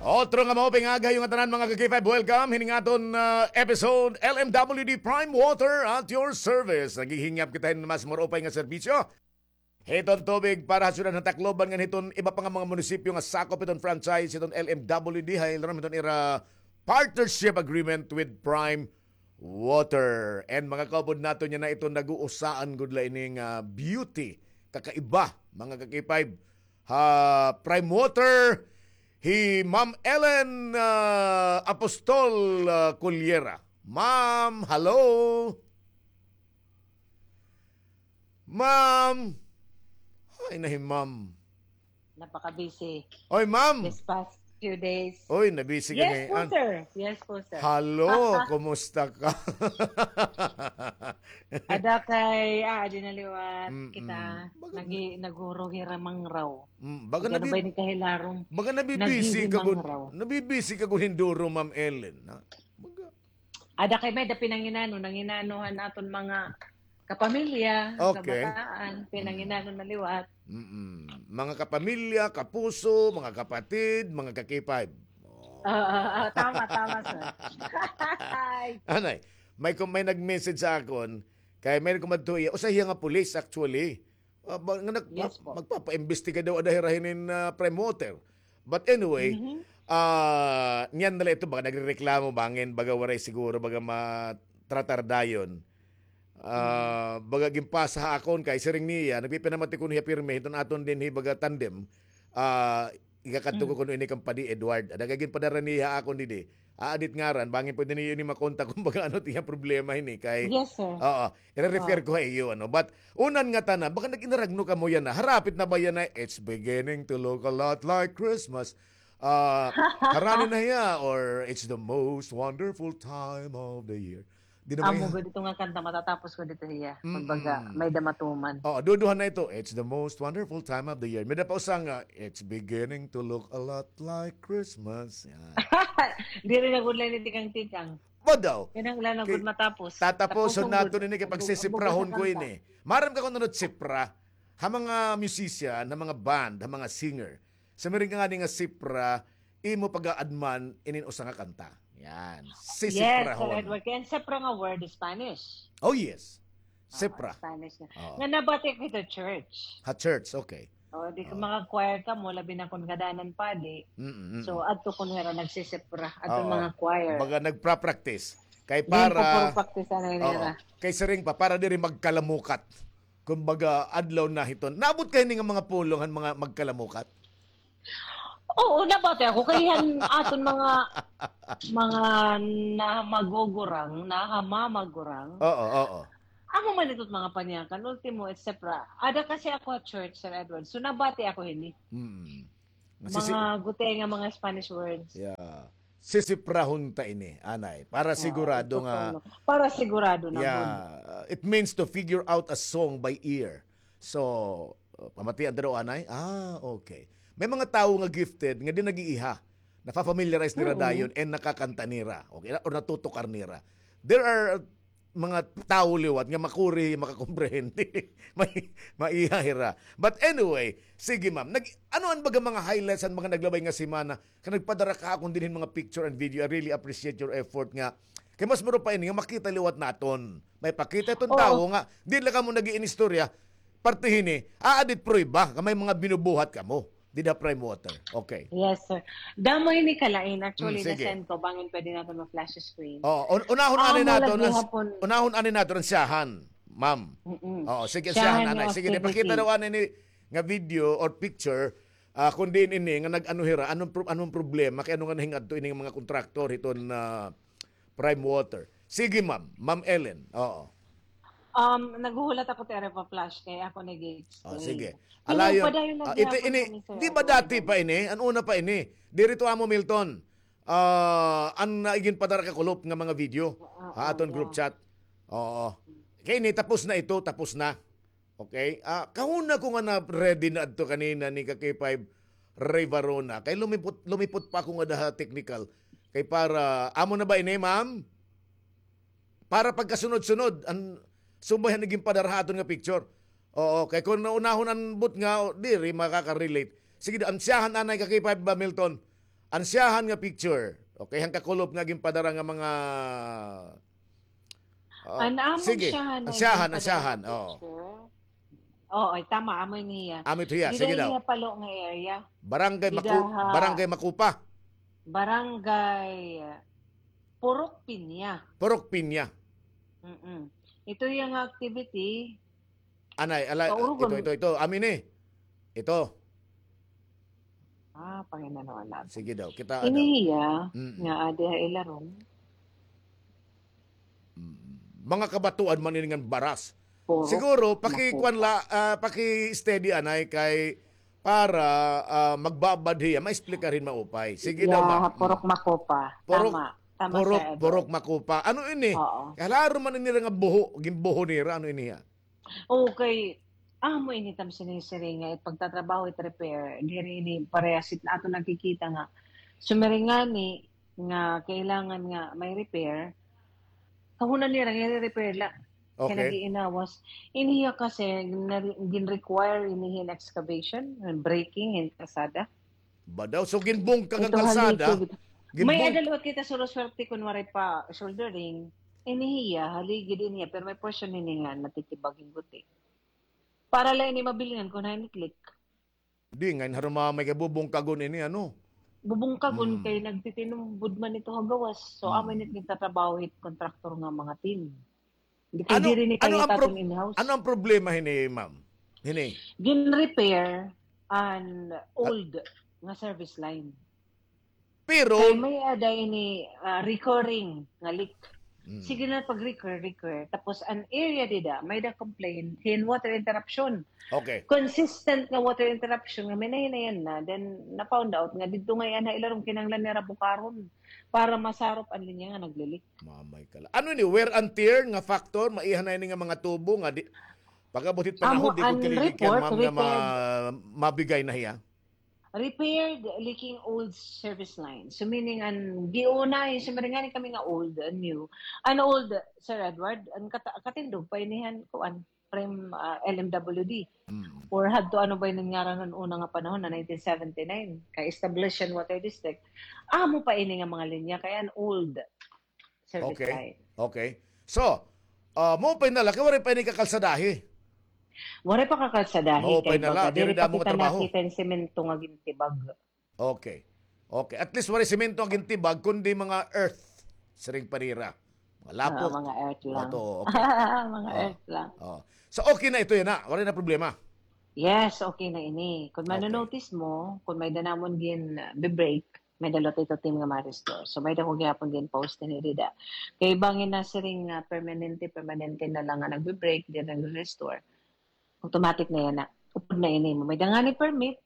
Otro nga maupay nga aga ha iyo ngatanan, mga ka-K five. Welcome hining aton, ah, episode, L M W D Prime Water at your service. Naghihingyap kita hin mas maupay nga serbisyo hiton tubig para ha syudad han Tacloban ngan hiton iba pa nga mga munisipyo nga sakop hiton franchise hiton L M W D, ha ilarom hiton ira partnership agreement with Prime Water. And mga kaupod naton, yana iton nag-uusaan gud la ini nga beauty, kakaiba, mga ka-K five, ha Prime Water, hi Ma'am Ellen, ah, Apostol, ah, Cullera. Ma'am, hello? Ma'am. Ay, na hi Ma'am. Napaka-busy. Oy, ma'am. This past few days. Oy, na-busy ka ngay-an. Yes po, sir. Yes po, sir. Hello, kumusta ka? Ada kay, ah, adi na liwat kita. Nagi-, naghuruhiramang raw. Mm, baga nabi-, baga nabi-busy ka gud, nabi-busy ka gud hin duro, Ma'am Ellen, ha? Baga Ada kay may-ada pinanginano, nanginano han aton mga kapamilya, kabataan, pinanginano na liwat. Mm-mm. Mga kapamilya, kapuso, mga kapatid, mga ka-K five. Oo, oo, tama, tama, sir. Anay, may kum-, may nag-message sa akon, kay may kumadto hiya, usa hiya nga pulis, actually. Ah, ba-, nga nag-, magpapaimbestiga daw ada hira hinin, ah, Prime Water. But anyway, ah, niyan na la ito, baga nagrereklamo, bangin, baga waray siguro, baga matratar dayon. Ah, baga ginpasa ha akon kay siring niya, nagpipinamati kuno hiya pirmi, hiton aton dinhi baga tandem. Ah, igakadto ko kuno ini kan Padi Edward. Ada kay ginpadara niya ha akon didi. Aadit ngaran, bangin pwede niyo ini makontak kon baga ano it iya problema hini kay. Yes, sir. Oo, ire-refer ko ha iyo, ano. But, unan nga tanan, baga nag-inaragno kamo yana. Harapit na ba yana, "It's beginning to look a lot like Christmas"? Ah, harani na hiya, or "It's the most wonderful time of the year"? Di na ba hiya? Amo gud ito nga kanta, matatapos ko dito hiya. Kumbaga, may-ada matuman. Oo, duduha na ito, "It's the most wonderful time of the year." May-ada pa usa nga, "It's beginning to look a lot like Christmas." Yan. Diri na gud la ini tikang-tikang. Ba daw? Kinahanglan na gud matapos. Tataposon naton ini kay pagsisiprahon ko ini. Maaram ka kon ano it sipra? Ha mga musician, ha mga band, ha mga singer. Sa miring ka ngani nga sipra, imo pag-aadman inin usa nga kanta. Yan. Sisiprahon. Yes, Sir Edward. Kay an sipra nga word is Spanish. Oh, yes. Sipra. Spanish nga. Oo. Nga nabati ko ha church. Ha church, okay. O, di ko, mga choir kamo, labi na kon ngadanan padi. Mm, mm. So, adto kon hira nagsisipra, adto mga choir. Baga nagpra-practice. Kay para, oo. Kay siring pa, para diri magkalamukat. kumbaga, adlaw na hiton. Naabot ka hini nga mga pulong han mga magkalamukat? Oo, nabati ako kay han aton mga, mga nahamagugurang, nahamamagurang. Oo, oo. Amo man ito't mga panyakan, ultimo, et cetera. Ada kasi ako ha church, Sir Edward. So, nabati ako hini. Mm. Sisi- Mga gutiay nga mga Spanish words. Yeah. Sisiprahon ta ini, anay. Para sigurado nga. Para sigurado na. Yeah. It means to figure out a song by ear. So, uh, pamatian ta daw, anay? Ah, okay. May mga tawo nga gifted nga di nag-iiha. Nafa-familiarize nira dayon and nakakanta nira. Okay, or natutukar nira. There are mga tawo liwat nga makuri, makakomprehende. May, maiha hira. But anyway, sige, ma'am. Nag, ano an baga mga highlights han mga naglabay nga semana? Kay nagpadara ka ha akon dinhi hin mga picture and video. I really appreciate your effort nga. Kay mas mura pa ini nga makita liwat naton. May pakita iton tawo nga di la kamo nag-iinistorya. Parte hini, aadit prueba nga may mga binubuhat kamo. Dida Prime Water. Okay. Yes, sir. Damo ini kalain. Actually, na-send ko bangin pwede naton ma-flash screen. Oo, un-, unahon ani naton, unahon ani naton an syahan, ma'am. Oo, sige, an syahan, anay. Sige, ipakita daw ani ni nga video or picture, ah, kun diin ini nga nag-ano hira, anong pro-, anong problema, kay ano nga nahingadto ini nga mga kontraktor hiton, ah, Prime Water. Sige, ma'am. Ma'am Ellen. Oo. Um, naghuhulat ako, Tere, pa-flash kay ako nag-explain. Oh, sige. Alayon, ah, ito, ini, di ba dati pa ini? An una pa ini? Diri to amo, Milton. Ah, an, ah, iginpadara ka kulop nga mga video ha aton group chat. Oo. Kay ini, tapos na ito, tapos na. Okay? Ah, kahuna ko nga na-ready na adto kanina ni ka K five Ray Varona. Kay lumipot, lumipot pa ako nga daha technical. Kay para, amo na ba ini, ma'am? Para pagkasunod-sunod, an subay han iginpadara ha aton nga picture. Oo, kay kun unahon an butnga, o, diri makaka-relate. Sige, an syahan anay ka K five ba, Milton? An syahan nga picture. Okay, han kakulop nga ginpadara nga mga, ah, an amon sige, syahan, an syahan, an syahan, oo. Oo, ay, tama, amo ini hiya. Amo ito hiya, sige daw. Dida ini hiya palo nga area. Barangay Maku-, Barangay Makupa. Barangay Purok Piña. Purok Piña. Mm-mm. Ito hiya nga activity. Anay, ala, ito, ito, ito. Amo ini. Ito. Ah, panginano na. Sige daw, kita. Ini hiya nga adi ha ilarom. Mm. Mga kabatuan man ini ngan baras. Siguro, pakikuan la, ah, paki-steady anay kay para, ah, magbabad hiya, maexplikar hin maupay. Sige daw, ma'am. Purok Makupa. Tama. Tama, Sir Edward. Purok Makupa. Ano ini? Oo. Klaro man ini nga buho, ginbuho nira, ano ini hiya? Okay. Amo ini tam sinisiring nga it pagtatrabaho, it repair, diri ini parehas it aton nakikita nga sumiring ngani nga kailangan nga may repair, kahunan nira nga i-repair la. Kay nag-iinawas. Ini hiya kasi gin-require ini hin excavation, hin breaking hin kalsada. Ba daw? So, ginbungkag an kalsada. May ada liwat kita suruswerte kun waray pa shouldering. Ini hiya, haligid ini hiya, pero may portion ini nga natitibag hin guti. Para la ini mabilingan kun hain it leak. Di, ngay-an harumamay kay bubungkagon ini, ano? Bubungkagon kay nagtitinumbod man ito ha gawas. So, amo ini it gintatrabaho hit kontraktor nga mga team. Di kay diri ni kay aton in-house. Ano an problema hini, ma'am? Hini? Gin-repair an old nga service line. Pero kay may ada ini, ah, recurring nga leak. Sige na pag-recur, recur. Tapos an area dida, may da complain hin water interruption. Okay. Consistent nga water interruption nga may nahinayan na, then na-found out nga didto ngay-an ha ilarom kinahanglan nira bukaron para masarop an linya nga nagli-leak. Mamay ka la. Ano ini, wear and tear nga factor? Maiha na ini nga mga tubo nga di, pag-abot hit panahon, di gud kalilig yan, ma'am, nga ma-, mabigay na hiya. Repaired leaking old service line. So, meaning, an giuna, yung sumiring ngani kami nga old and new. An old, Sir Edward, an kata-, katindog pa ini han, kuan, Prime, ah, L M W D. Or hadto ano ba ini ngaran han una nga panahon na nineteen seventy-nine, kay established an water district. Amo pa ini nga mga linya, kay an old service line. Okay. So, ah, maupay na la, kay waray pa ini kakalsadahi. Waray pa kakalsadahi, kay baga diri pa kita nakita hin semento nga gintibag. Okay. Okay. At least waray semento nga gintibag, kundi mga earth. Siring pa nira. Malapok. Ah, mga earth lang. Bato, okay. Mga earth lang. Oh. So, okay na ito yana. Waray na problema. Yes, okay na ini. Kung manonotice mo, kung may-ada namon gin, ah, bi-break, may-ada liwat ito team nga ma-restore. So, may-ada ko gihapon gin-post ini dida. Kay bangin na siring nga permanente, permanente na lang nga nagbi-break, diri nagre-restore. Automatic na yana. Upod na ini. May-ada ngani permit,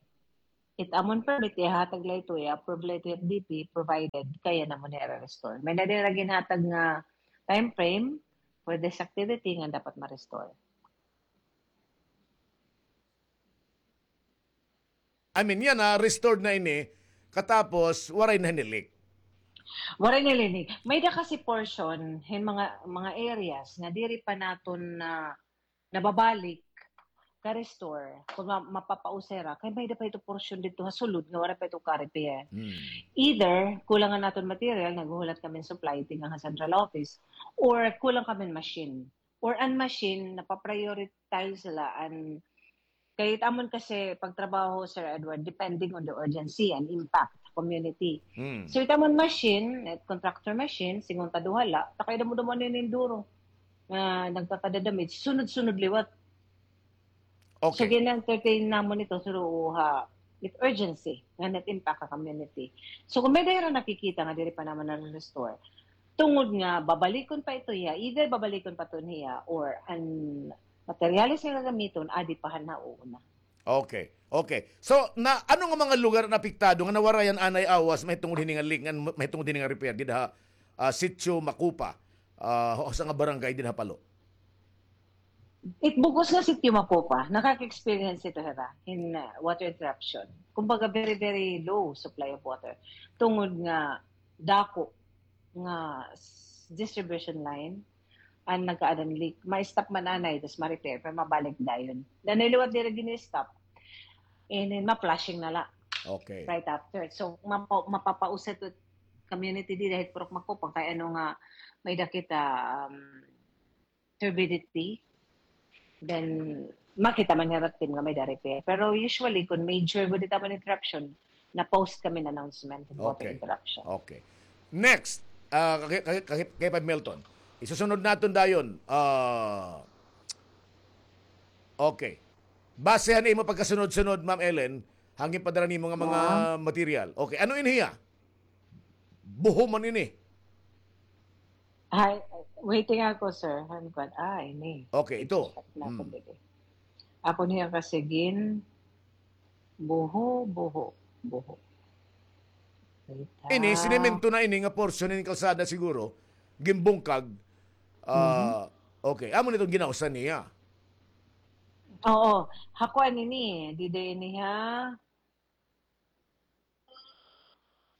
it amon permit, ihatag la ito, i-approve la ito it D P, provided kaya namon ira-restore. May-ada dira ginhatag nga time frame for this activity nga dapat ma-restore. I mean, yana, restored na ini, katapos, waray na hini leak. Waray na hini leak. May-ada kasi portion, hin mga, mga areas, nga diri pa naton na nababalik ka-restore, kung ma-, mapapausa hira, kay may-ada pa ito portion didto ha sulod nga waray pa ito ka-repair. Hmm. Either, kulang an aton material, naghuhulat kami hin supply, tikang ha central office, or kulang kami hin machine. Or an machine, napa-prioritize la an, kay it amon kasi pagtrabaho, Sir Edward, depending on the urgency and impact sa community. Hmm. So, it amon machine, it contractor machine, singon ta duha la, ta kay damo-damo na ini hin duro nga nagkakada-damage, sunod-sunod liwat. Okay. So, gin-entertain namon ito, sir, ha, with urgency, nga nag-impact ha community. So, kung may-ada hira nakikita nga diri pa naman na-restore, tungod nga babalikon pa ito hiya, either babalikon pa ito niya or an materyales nga gagamiton, adi pa han nauuna. Okay. Okay. So, na, ano nga mga lugar an apektado nga nawarayan anay awas mahitungod hini nga leak, ngan mahitungod hini nga repair dida ha, ah, Sitio Macopa, ah, usa nga barangay dida ha Palo? It bug-os nga Sitio Macopa, nakaka-experience ito hira hin, uh, water interruption. Kumbaga, very, very low supply of water. Tungod nga dako nga s-, distribution line an nagkaadan leak. Ma-stop man anay, tas ma-repair, pero mabalik dayon. Nanay liwat diri gini-stop. And then, ma-flushing na la. Okay. Right after. So, mapa-, mapapausa it community dida hit Purok Macopa, kay ano nga, may-ada kita, um, turbidity, then makita man hira team nga may-ada repair. Pero usually, kung major gud it amon interruption, na-post kami hin announcement hin water interruption. Okay. Next, ah, kay, kay, kay, kay Pab Milton. Isusunod naton dayon. Ah, okay. Base han imo pagkasunod-sunod, Ma'am Ellen, han ginpadara nimo nga mga material. Okay, ano ini hiya? Buho man ini. Ay, waiting ako, sir. Han kuan, ah, ini. Okay, ito. Check natin dito. Ako niya kasi gin-, buho, buho, buho. Wait, ini, ah, sinemento na ini nga portion hin kalsada siguro. Ginbungkag. Ah, okay. Amo na iton ginausan niya. Oo. Ha kuan ini, dida ini ha.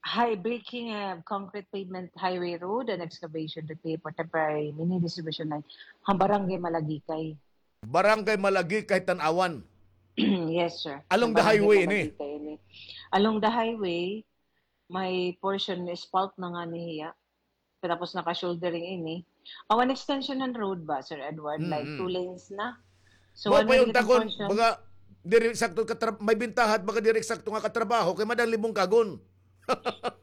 High breaking, uh, concrete pavement highway road and excavation repair for temporary mini distribution line. Ha Barangay Malagikay. Barangay Malagikay, Tanauan. Yes, sir. Along the highway ini? Along the highway, may portion na spalt na ngani hiya. Tapos naka-shouldering ini. Aw, an extension han road ba, Sir Edward? Like, two lanes na. So, mao pa it akon, baga, diri eksakto katra-, may bintaha it baga diri eksakto nga katrabaho, kay madali bungkagon.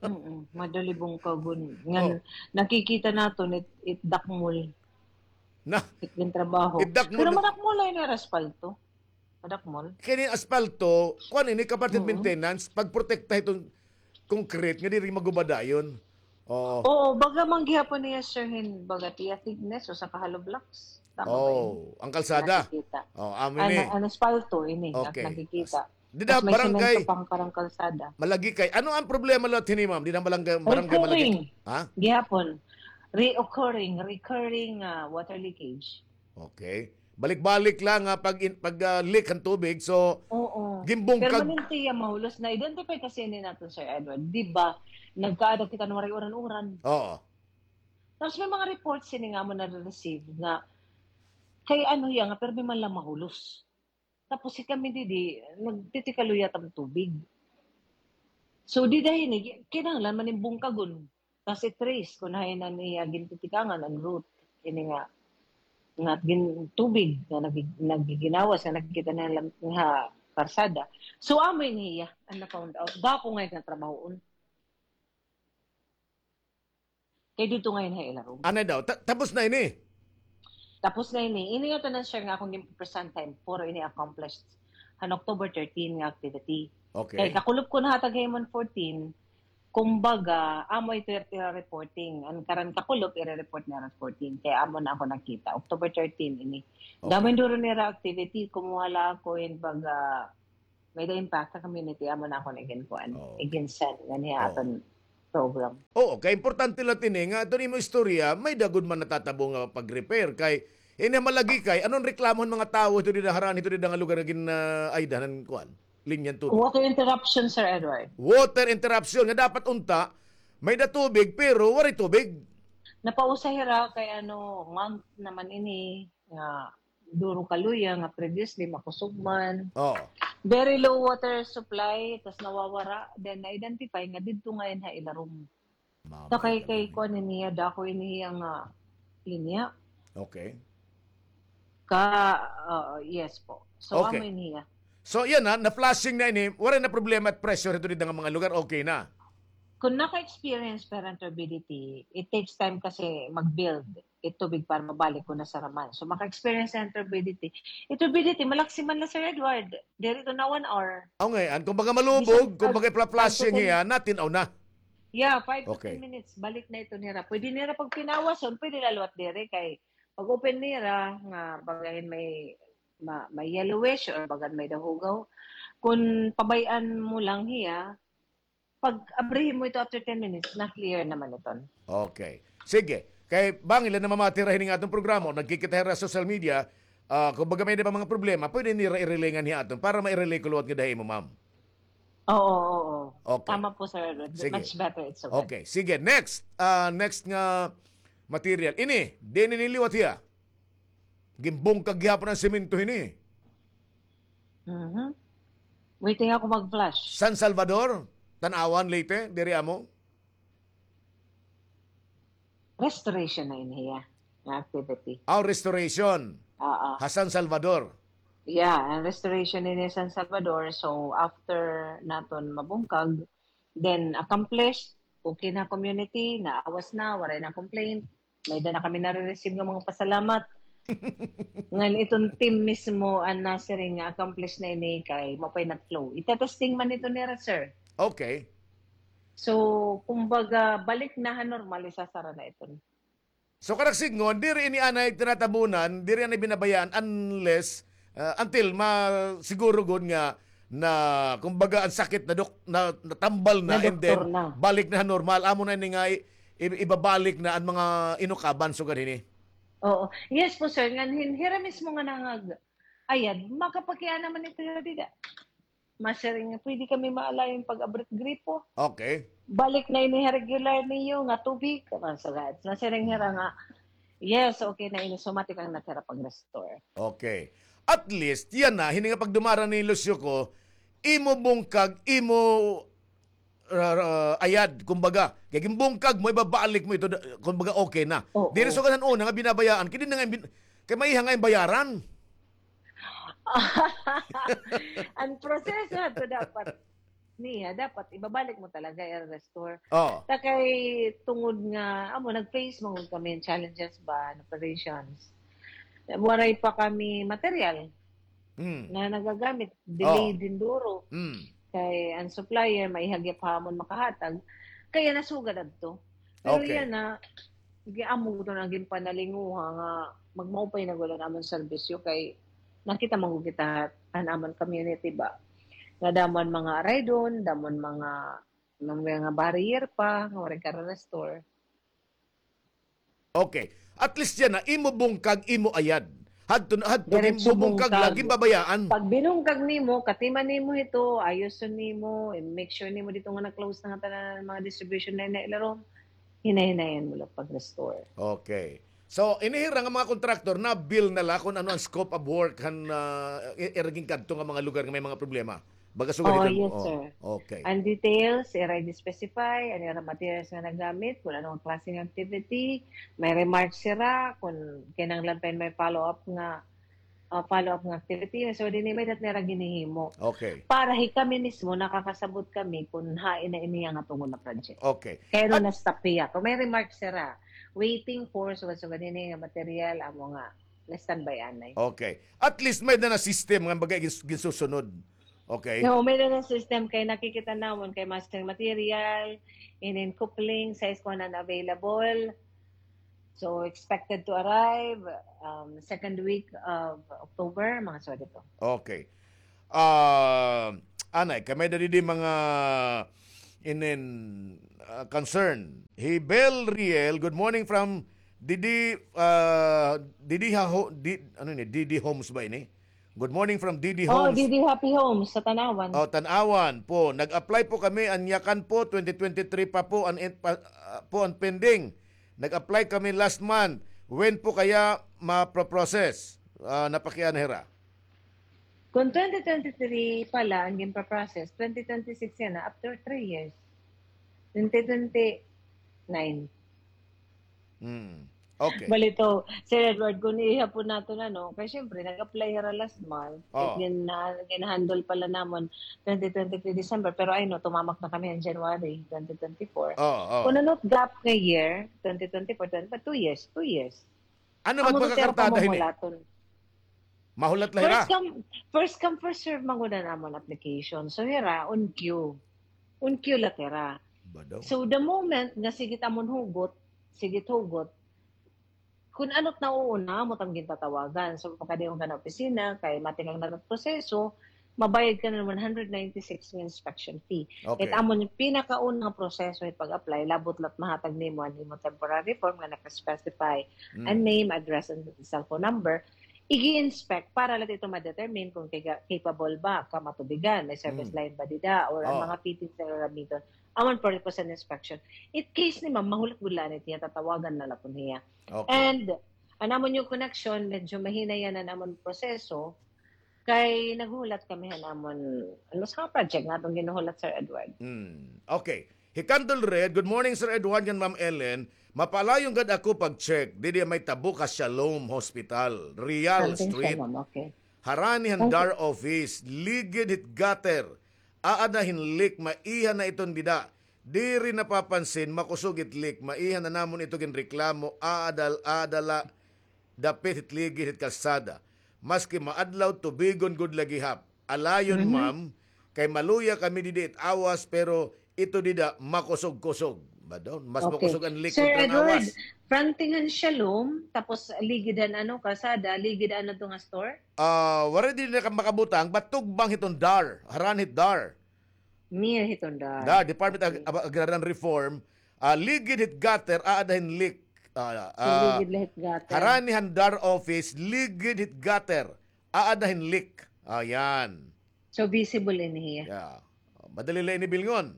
Mm, madali bungkagon. Ngan, nakikita naton, it, it dakmol. Na, it gintrabaho. It dakmol. Pero madakmol la ini nga aspalto. Madakmol. Kini aspalto, kuan ini, kapatid, maintenance, pagprotekta hiton concrete nga diri maguba dayon. Oo. Oo, baga man gihapon niya, sir, hin baga tiya thickness, usa ka hollow blocks. Tama ba ini? Oh, an kalsada. Nakikita. Oh, amo ini. An aspalto ini, nakikita. Dida ha barangay Malagikay. Tapos may semento pa an kalsada. Ano an problema liwat hini, ma'am? Dida ha barangay, barangay Malagikay. Recurring. Ha? Gihapon. Reoccurring, recurring, ah, water leakage. Okay. Balik-balik la nga pag in-, pag, ah, leak han tubig. So, ginbungkag. Permanente iya mahulos. Na-identify kasi ini naton, Sir Edward. Di ba, nagkaada kita nga waray uran-uran. Oo. Tapos may mga reports ini nga amo nare-receive nga kay ano hiya nga permi man la mahulos. Tapos si kami didi, nagtitikaluya it am tubig. So, dida hini, gi-, kinahanglan man nin bungkagon. Tapos i-trace kon hain an iya gintitikangan, an root. Ini nga, nga gin-, tubig nga nagi-, nagiginawas, nga nakikita na lang ha karsada. So, amo ini iya, an na-found out. Gwapo ngay-an nga trabahoon. Kay didto ngay-an ha ilarom. Anay daw, ta-, tapos na ini? Tapos na ini. Ini nga tanan, sir, nga akon ginpresentahan, puro ini accomplished han October thirteen nga activity. Okay. Kay kakulop ko nahatag ha imo han fourteen, kumbaga, amo ito ira reporting. An karan kakulop, ira-report nira fourteen. Kay amo na ako nakita. October thirteen ini. Okay. Damo hin duro nira activity. Kumuha la ako hin baga, may-ada impact ha community, amo na ako na iginkuan, oo, iginsend nganhi ha aton program. Oo, kay importante la ini nga aton imo istorya, may-ada gud man natatabo nga pag-repair kay ini malagi kay, ano an reklamo han mga tawo hito dida, harani hito dida nga lugar nga gin-, ah, ay, dahan kuan, linya han tubig. Water interruption, Sir Edward. Water interruption nga dapat unta may-ada tubig pero waray tubig. Napausa hira kay ano, month naman ini nga duro kaluya nga previously makusog man. Oo. Very low water supply, tas nawawara, then na-identify nga didto ngay-an ha ilarom. Mama, sa kay, kay kuan ini hiya, dako ini hiya nga linya. Okay. Ka, oo, yes po. So, okay, amo ini hiya. So, yana, na-flushing na ini, waray na problema it pressure hito dida nga mga lugar, okay na. Kung naka-experience pa hin turbidity, it takes time kasi mag-build it tubig para mabalik kon nasaraman. So, maka-experience hin turbidity. It turbidity, malaksi man la, Sir Edward. Diri ito na one hour. Aw, ngay-an, kumbaga malubog, kumbaga ipla-flushing hiya, natin-aw na. Yeah, five to ten minutes, balik na ito nira. Pwede nira pagpinawason, pwede la liwat diri kay pag-open nira nga baga hin may ma-, may yellowish or bagan may dahugaw. Kon pabay-an mo lang hiya, pag abrihin mo ito after ten minutes, na-clear naman iton. Okay. Sige. Kay bangin la namamati hira hini nga aton programa, nagkikita hira ha social media, ah, kon baga may-ada pa mga problema, pwede nira i-relay nganhi ha aton para ma-relay ko liwat ngada ha imo, ma'am. Oo, oo. Okay. Tama po, sir. Sige. Much better, it's okay. Okay. Sige, next. Ah, next nga material. Ini, diin ini liwat hiya? Ginbungkag gihapon an semento hini. Mhm. Waiting ako mag-flash. San Salvador, Tanauan, Leyte, diri amo? Restoration na ini hiya nga activity. Aw, restoration. Oo. Ha San Salvador. Yeah, an restoration ini San Salvador. So, after naton mabungkag, then accomplished, okay na community, naawas na, waray na complaint. May-ada na kami nare-receive nga mga pasalamat. Ngan iton team mismo an nasiring nga accomplish na ini kay maupay nag-flow. Itetesting man ito nira, sir. Okay. So, kumbaga, balik na ha normal, isasara na iton. So, kanan sidngon, diri ini anay tinatabunan, diri anay binabayaan unless, ah, until masiguro gud nga na, kumbaga, an sakit na dok-, na, natambal na, and then balik na ha normal. Amo na ini nga i-, i-, ibabalik na an mga inukaban sugad hini. Oo. Yes po, sir. Ngan hin-, hira mismo nga nangag-ayad, makapakiana man ito hira dida. Masiring nga, pwede kami maalayon pag-abrit gripo. Okay. Balik na ini ha regular niyo nga tubig. Masiring hira nga, yes, okay na ini. So, matik-ang na hira pag-restore. Okay. At least, yana, hini nga pagdumara ni Lucio ko, imo bungkag, imo ra-, ra-, ayad, kumbaga. Kay ginbungkag mo, ibabalik mo ito, da-, kumbaga, okay na. Oo. Diri sugad han una nga binabayaan, kay diri na nga bin-, kay maiha nga imo bayaran. An proseso adto dapat niya, dapat ibabalik mo talaga, i-restore. Oo. Ta kay tungod nga, amo, nag-face man gud kami hin challenges ba, an operations. Waray pa kami material. Mm. Na nagagamit, delayed hin duro. Mm. Kay an supplier, maiha gihapon makahatag. Kaya nasugad adto. Pero yana, amo gud na ginpanalinguha nga magmaupay na gud an amon serbisyo kay nakita man gud kita an amon community ba. Nga damo an mga araydon, damo an mga, mga barrier pa, nga waray kara-restore. Okay. At least yana, imo bungkag, imo ayad. Hadto, hadto, ginbubungkag la, ginbabayaan. Pag binungkag nimo, katiman nimo hito, ayoson nimo, i-make sure nimo didto nga na-close na nga tanan mga distribution line na ilarom, hinay-hinayan mo la pag-restore. Okay. So, ini hira nga mga kontraktor, na-bill na la kon ano an scope of work han, ah, i-, ira ginkadto nga mga lugar nga may mga problema? Baga sugad iton. Oh, yes, sir. Okay. An details, ira i-specify, an ira materials nga nagamit, kon ano nga klase nga activity, may remarks sira, kon kinahanglan pa hin may follow-up nga ah, follow-up nga activity. So, dinhi may dat nira ginhihimo. Okay. Para hi kami mismo, nakakasabot kami kun hain na ini nga tungod na project. Okay. Kay ano na-stop hiya. Kun may remarks sira, waiting for, so, so, dinhi nga material, amo nga, na-standby anay. Okay. At least may na system nga bagay gins-, ginsusunod. Okay. No, may na system kay nakikita namon kay mastering material, inin coupling, size ko na available. So, expected to arrive, um, second week of October, mga suwat ito. Okay. Ah, anay, kay may da didi mga inin, ah, concern. Hi Bel Riel, good morning from Didi, ah, Didi ha ho-, di, ano ini? Didi Homes ba ini? Good morning from Didi Oh, Homes. Didi Happy Homes sa Tanauan. Oh, Tanauan po. Nag-apply po kami, an yakan po, twenty twenty-three pa po, an, pa, ah, po an pending. Nag-apply kami last month. When po kaya ma-process? Ah, napakiana hira. Kung twenty twenty-three pala ang ginpa-process, twenty twenty-six yana, after three years. Twenty twenty-nine. Hmm. Okay. Balito, Sir Edward, kung ihapon naton, ano, kay siyempre, nag-apply hira last month. Oh. Gin-, na-, gin-handle pala namon twenty twenty-three December, pero I know, tumamak na kami in January twenty twenty-four. Oh, oh. Kung ano gap nga year, twenty twenty-four, twenty, but two years, two years. Ano Amo to, magpakakartada hini? Pamamulaton. Mahulat la hira? First come, first come, first serve man gud an amon application. So, hira, on queue. On queue la hira. Ba daw? So, the moment nga sige it amon hugot, sige it hugot, kun ano it nauuna, amo it am gintatawagan. So, makadayon ka na opisina, kay matikang na it proseso, mabayad ka na one hundred ninety-six nga inspection fee. Okay. It amo it pinakauna nga proseso it pag-apply, labot la it mahatag nimo an imo temporary form nga naka-specify Mm. an name, address, and cellphone number. Igi-inspect para la ito ma-determine kung kay-, capable ba ka matubigan, may service Mm. line ba dida, or an Oh. mga fittings nga gagamiton. Amo an purpose an inspection. It case ni ma'am, mahulat gud la ini hiya, tatawagan na la pon hiya. Okay. And an amon nga connection, medyo mahina yana an amon proseso, kay naghuhulat kami han amon, ano, sa project nga aton ginhuhulat, Sir Edward. Hmm. Okay. Hi Candle Red, "Good morning, Sir Edward ngan Ma'am Ellen. Mapaalayon gad ako pag-check didi may tabuka Shalom Hospital, Real Something Street. Shalom, okay. Harani han Okay. DAR office, ligid hit gutter. Aada hin leak, maiha na iton dida. Diri napapansin, makusog it leak. Maiha na namon ito ginreklamo, aada, aada la dapit hit ligid hit kalsada. Maski maadlaw, tubigon gud la gihap. Alayon, Mhm. ma'am, kay maluya kami didi it awas, pero ito dida makusog-kusog." Ba daw? Mas Okay. makusog an leak Sir kontra an Edward, awas. Fronting han Shalom, tapos ligid han ano, kalsada, ligid ano to nga store? Ah, waray didi na ka makabutang, but tugbang hiton DAR, harani hit DAR. Near hiton DAR. DAR, Department of Okay. Ag-, Agrarian Reform, ah, ligid hit gutter, aada hin leak. Ah, ah, Ligid la hit gutter. Harani han DAR office, ligid hit gutter, aada hin leak. Ayan. So, visible ini hiya. Yeah. Madali la ini bilngon.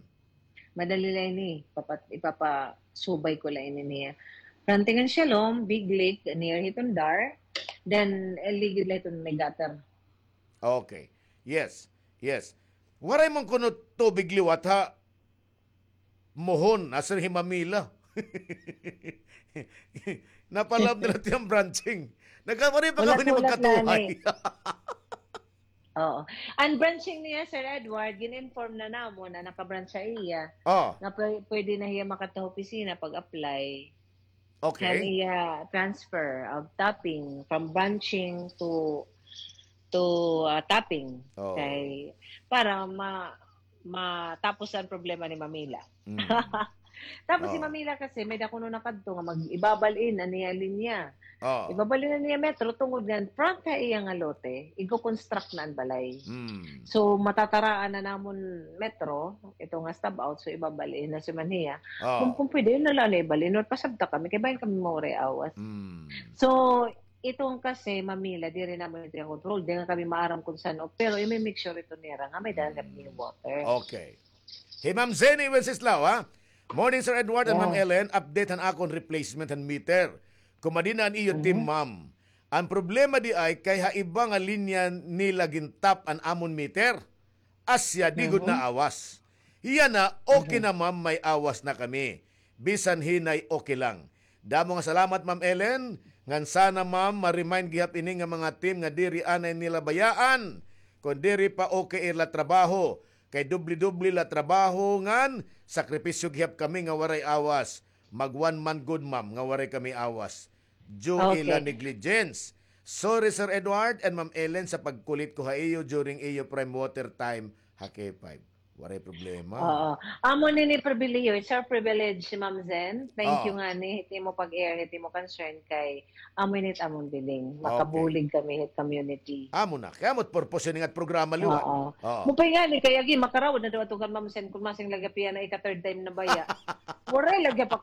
Madali la ini. Papat-, ipapasubay ko la ini niya. Fronting han Shalom, big leak, near hiton DAR. Then, eh, ligid la hiton may gutter. Okay. Yes. Yes. Waray man kuno tubig liwat ha mohon, asya hi Mamila. Napalab na la it iya branching. Nagkamari pa kami ni magkatuhay. Oo. An branching niya, Sir Edward, gin-inform na namon na naka-branch iya. Oh. Nga pwe-, pwede na hiya makadto ha opisina pag-apply. Okay. Kan iya transfer of Tapping, from branching to, to, ah, Tapping. Oh. Kay, para ma-, matapos an problema ni Mamila. Mm. Tapos si Oh. Mamila kasi, may-ada kuno nakadto nga mag-, ibabal-in an iya linya. Oh. Ibabal-in an iya metro tungod nga front ha iya nga lote, igo-construct na an balay. Mm. So, matataraan na namon metro, ito nga stub out, so ibabal-in na si Maniya. Oh. Kung, kung pwede, yun na lang na ibal-in, or pasabta kami, kay bahin kami mauray awas. Mm. So, itong kasi, Mamila, diri namon ito yung control, di nga kami maaram kung saan, o, pero i-make sure ito nira nga may-ada Mm. ni water. Okay. Hi Ma'am Zenny Wenceslao, ha? Morning, Sir Edward and Ma'am Ellen. Update han akon replacement han meter. Kumadi na an iyo team, ma'am. An problema di ay kay ha iba nga linya nila gin-tap an amon meter. Asya, di gud naawas. Yana, okay na, ma'am, may awas na kami. Bisan hinay, okay lang. Damo nga salamat, Ma'am Ellen. Ngan sana, ma'am, ma-remind gihap ini nga mga team nga diri anay nila bayaan. Kon diri pa, okay la trabaho. Kay dubli-dubli la trabaho ngan sakripisyo gihap kami nga waray awas. Mag one month gud, ma'am, nga waray kami awas. Due ila negligence. Sorry, Sir Edward and Ma'am Ellen, sa pagkulit ko ha iyo during iyo prime water time ha K five. Waray problema. Oo. Amo nini pribilehiyo. It's our privilege, Ma'am Zen. Thank you ngani hit imo pag-air, hit imo concern kay amo ini it amon bilin. Makabulig kami hit community. Amo na. Kay amo it purpose ini nga programa liwat. Oo. Mupay ngani kay agi makarawod na daw ato kan Ma'am Zen kun masing lagi pa yana ika third time na baya. Waray lagi pa